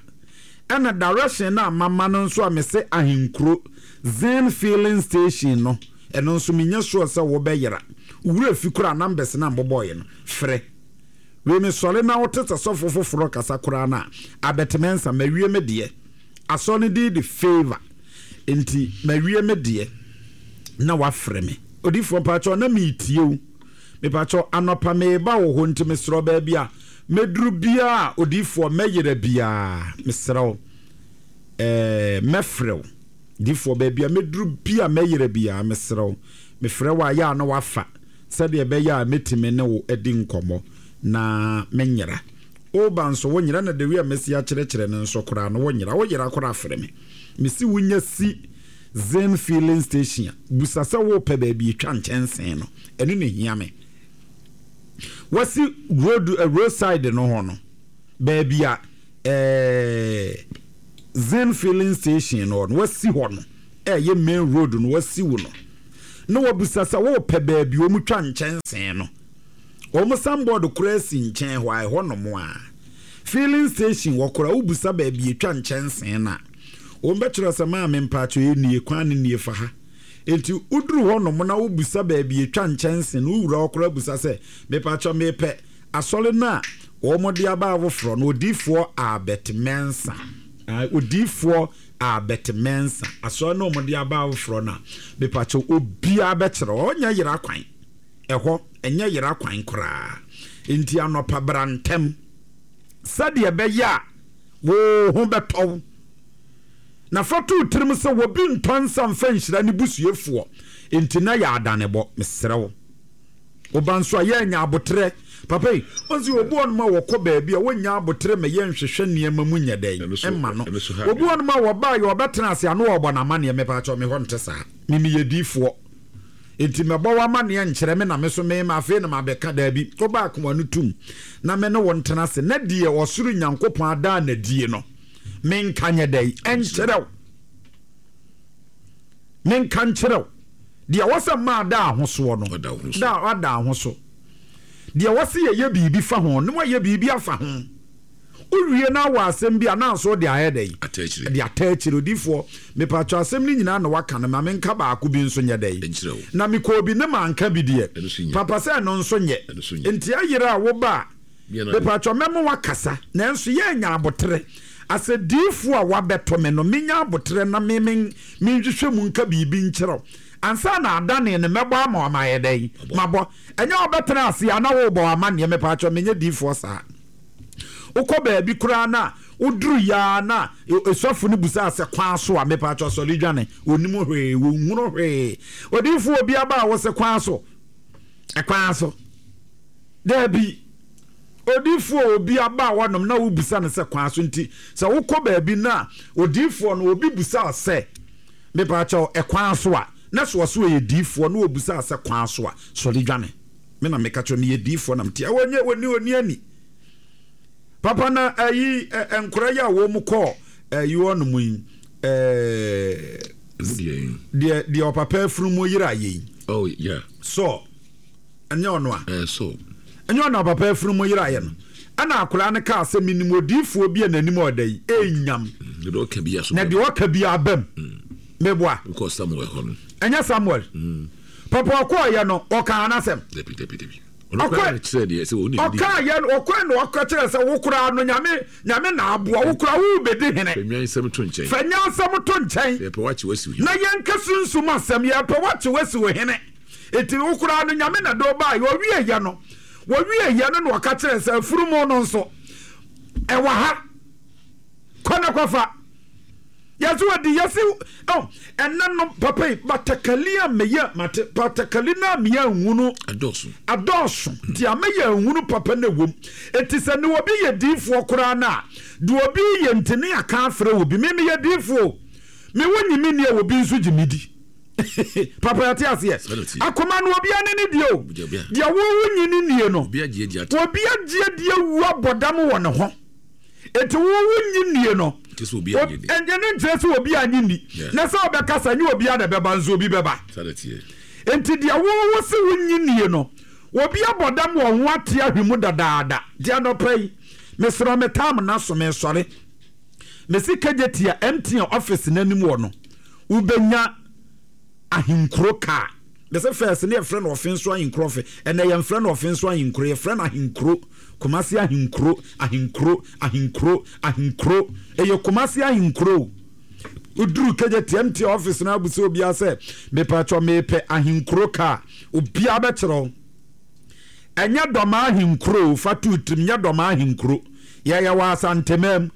ɛna direction no a mama no nso a mese ahenkuro zen filling station no Ɛno nso menyɛ sure sɛ wobɛyera. Wo werɛ fi koraa numbers no a mobɔeɛ no, frɛ. Wei mesɔre na wote sɛ sɔfo foforɔ kasa koraa no a, Albert Mensah, mawie me deɛ. Asɔre no din de Favour. Nti mawie me deɛ na wafrɛ me. Odiyifoɔ mpakyɛw na meretie wo. Mepakyɛw anɔpa mereba wo hɔ nti mesrɛ wo baabi a mɛduru biara odiyifoɔ mɛyera biara mesrɛ wo ɛɛ mɛfrɛ wo. Difoɔ, baabi a mɛduru bi a mɛyera biara, mesrɛ wo, mefrɛ wo a, yɛ a na woafa, sɛdeɛ ɛbɛyɛ a mɛtumi ne wo adi nkɔmmɔ na menyera. Woreba nso, wonyera, na the way a mɛsi akyerɛkyerɛ no nso koraa no, wonyera. Woyera koraa a, frɛ me. Mese wonya si Zen filling station a, busa sɛ worepɛ baabi atwa nkyɛnsee no. Ɛno na ɛhia me. Wasi road, eh, roadside no ho no, baabi a, eh, Zen filling station no hɔ no, wasi hɔ no, ɛyɛ main road no, wasi wo no, na wabisa sɛ wopɛ baabi wɔn twa nkyɛnsee no. Wɔn sanbɔɔd koraa si nkyɛn hɔ a, ɛhɔ nom a. Filling station wɔ koraa, wobisa baabi etwa nkyɛnsee no a, wɔn bɛkyerɛ sɛ maame mpakyɛ nie, kwan no nie fa ha. Enti woduru hɔnom na wobisa baabi etwa nkyɛnse no, wowura hɔ koraa bisa sɛ, Mepakyɛw mepɛ asɔre no a wɔde aba afoforɔ no, Odiyifoɔ Albert Mensah. Ae, Odiyifoɔ Albert Mensah, asɔre no a wɔde aba afoforɔ no a, mepakyɛw obiara bɛkyerɛ wo. Ɔnyɛ yera kwan. Ɛhɔ, ɛnyɛ yera kwan koraa. Enti anɔpa bra ntɛm sɛdeɛ ɛbɛyɛ a wo ho bɛtɔ wo. Na fa to wo tirim sɛ obi ntɔ nsa mfa nhyira ne busuafoɔ, enti na yɛ adanebɔ. Mesrɛ wo. Wo ba nso a, yɛ nya aboterɛ. Papa yi, ɔn sɛ obi wɔ nom a wɔkɔ baabi a wɔnnya aboterɛ ma yɛnhwehwɛ nneɛma mu nyɛ dɛn mma no. Obi wɔ nom a wɔbaa yɛ ɔbɛtena ase a na ɔrebɔ no amaneɛ. Mepaakyɛw me hɔ nte saa. Me meyɛ diifoɔ. Enti mɛbɔ wo amaneɛ nkyerɛ me na me so me afei na mabɛka. Daabi, wo ba akoa no tum na me ne wo ntena ase na deɛ ɔsoro Nyankopɔn adaa no adie no, menka nyɛ dɛn nkyerɛ wo. Menka nkyerɛ wo. Deɛ ɛwɔ sɛ mmaa da ahosoɔ no, da ada ahoso. Deɛ ɛwɔ sɛ yɛyɛ biribi fa ho no, wɔayɛ biribi afa ho. Wowie na awɔ asɛm bi a, na nso wode ayɛ dɛn? De ata akyire. Odiyifoɔ, mepatwɔ asɛm no nyinaa na woaka no, ma menka baako bi nso nyɛ dɛn? Na mekɔɔ bi ne manka bi deɛ, papa sɛ ɛno nso nyɛ. Nti ayere a woba a, Mepakyɛw, mɛma woakasa, nanso yɛ nya aboterɛ. Asɛ diyifoɔ a woabɛto me no, menya aboterɛ na me me menhwehwɛ mu nka biribi nkyerɛ wo ansa na adanee no, mɛbɔ ama wo ama ayɛ dɛn? Mabɔ. Ɛnyɛ wobɛtena ase a na worebɔ wo amanneɛ, mepakyɛw, menyɛ diyifoɔ saa. Wokɔ baabi koraa no a, woduru yɛ ara na sɔfo no busaa sɛ kwan so a, mepakyɛw, sɔre dwane. Ɔnnim hwee, wɔnhunu hwee. Odiyifoɔ obi aba a wose kwan so? Ɛkwan so. Dabi. Odiyifoɔ a obi aba hɔnom na wobisa no sɛ kwan so nti, sɛ wokɔ baabi na odiyifoɔ no obi bisa wo sɛ, Mepaakyɛw, ɛkwan so a? Na sɛ ɔse ɔyɛ diyifoɔ na obisa wo sɛ kwan so a, sɔre dwane. Me na meka kyerɛ wo, meyɛ diyifoɔ na mete ha. Ɔnyɛ, ɔnni, ɔnni ani. Papa na ayi, nkora yi a wɔn kɔ ayi hɔnom yi, ɛɛ, deɛ, deɛ ɔpapa afunumu yera yɛ yi. Oh, yeah. Saul. Ɛnyɛ ɔno a? Ɛɛ so. Ɛnyɛ ɔno a papa afunumu yeraeɛ no? Ɛna akwadaa no kaa sɛ, Menim odiyifoɔ bi a n'anim ɔda yi, ɛnyam. Na deɛ ɔka biara so Na deɛ ɔka biara bam. Meboa. Wokɔɔ Samuel hɔ no. Ɛnyɛ Samuel. Papa ɔkɔɔyɛ no, ɔkaa n'asɛm. Dabi, dabi, dabi. Ɔno koraa na kyerɛ deɛ sɛ ɔne ne di. Ɔkaayɛ no, ɔkɔɛ na ɔka kyerɛ sɛ wo koraa no Nyame, Nyame na aboa wo koraa wo bɛdi hene. Fa nyansɛm to nkyɛn. Fa nyansɛm to nkyɛn. Yɛpɛ wakye wasi wo hene. Na yɛnka sunsum asɛm, yɛpɛ wakye wasi wo hene. Enti wo koraa no, Nyame na de wo baeɛ. Ɔwieeɛ no, wɔwieeɛ no na ɔka kyerɛɛ sɛ, afunumu no nso, ɛwɔ ha. Kɔ na kɔfa. Yɛse wɔdi, yɛse, oh, ɛnɛ no, papa yi, batakali a meyɛ, mate, batakali no a meyɛ nhunu. Adɔɔso. Adɔɔso. Nti a meyɛ nhunu papa no ɛwom. Enti sɛ ne obi yɛ diifoɔ koraa no a, deɛ obi yɛ nti ne aka afrɛ obi. Me meyɛ diifoɔ o. Me wo nyi me nni a, obi nso gye me di. Papa yɛte aseɛ. Akoma no obia ne ne deɛ o. Deɛ wo wo nyi ne nie no. Obi agye adi awu abɔ dam wɔ ne ho. Eti wo wo nyi nie no. Ɛnyɛ ne nkyerɛ sɛ obi anyi ni. Na sɛ ɔbɛkasa nyɛ obia na ɛbɛba nso obi bɛba. Enti deɛ wo wo se wo nyi nie no obi abɔ dam wɔ ho ate ahwe mu dadaada. Nti anɔpa yi mesrɛ me tam na so mesɔre. Mesi kagye tia MTN office n'anim wɔ no. Wobɛnya ahenkuro kaa. Mese first ne yɛfrɛ no ɔfenso ahenkuro ɔfe. Ɛnɛ yɛmfrɛ no ɔfenso ahenkuro, yɛfrɛ no ahenkuro. Kumasi ahenkuro, ahenkuro, ahenkuro, ahenkuro. Ɛyɛ Kumasi ahenkuro o. Woduru KJTMT office no abusa obiara sɛ, mepatwɔ mepɛ ahenkuro kaa. Obiara bɛkyerɛ wo. Ɛnyɛ dɔmaa ahenkuro o, fa to tirim, nyɛ dɔmaa ahenkuro. Yɛyɛ wɔ Asanteman mu,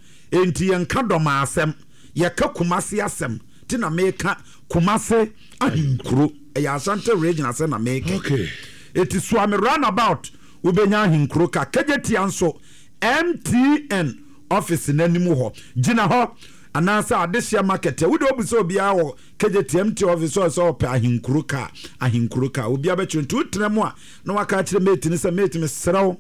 enti yɛnka dɔmaa asɛm. Yɛka Kumasi asɛm ti na meka Kumasi ahenkuro. Ɛyɛ Ashanti region asɛm na meka. Okay. Eti Suame roundabout wobɛnya ahenkuro ka. Kejetia nso MTN office n'anim hɔ. Gyina hɔ anaasɛ Adehyeɛ market a wode obu sɛ obiara wɔ Kejetia MTN office hɔ sɛ ɔpɛ ahenkuro ka ahenkuro ka obiara bɛkyerɛ nti wotena mu a na waka akyerɛ mate no sɛ mate mesrɛ wo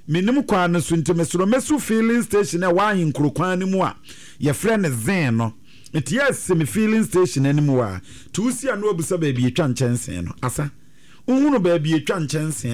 Mennim kwan no so nti mesrɛ mɛsu filling station a ɛwɔ ahenkuro kwan no mu a yɛfrɛ no Zen no. Nti yɛasi me filling station anim hɔ a, nti wosi a na wabisa baabi yɛtwa nkyɛnsee no. Asa, wohunu baabi yɛtwa nkyɛnsee.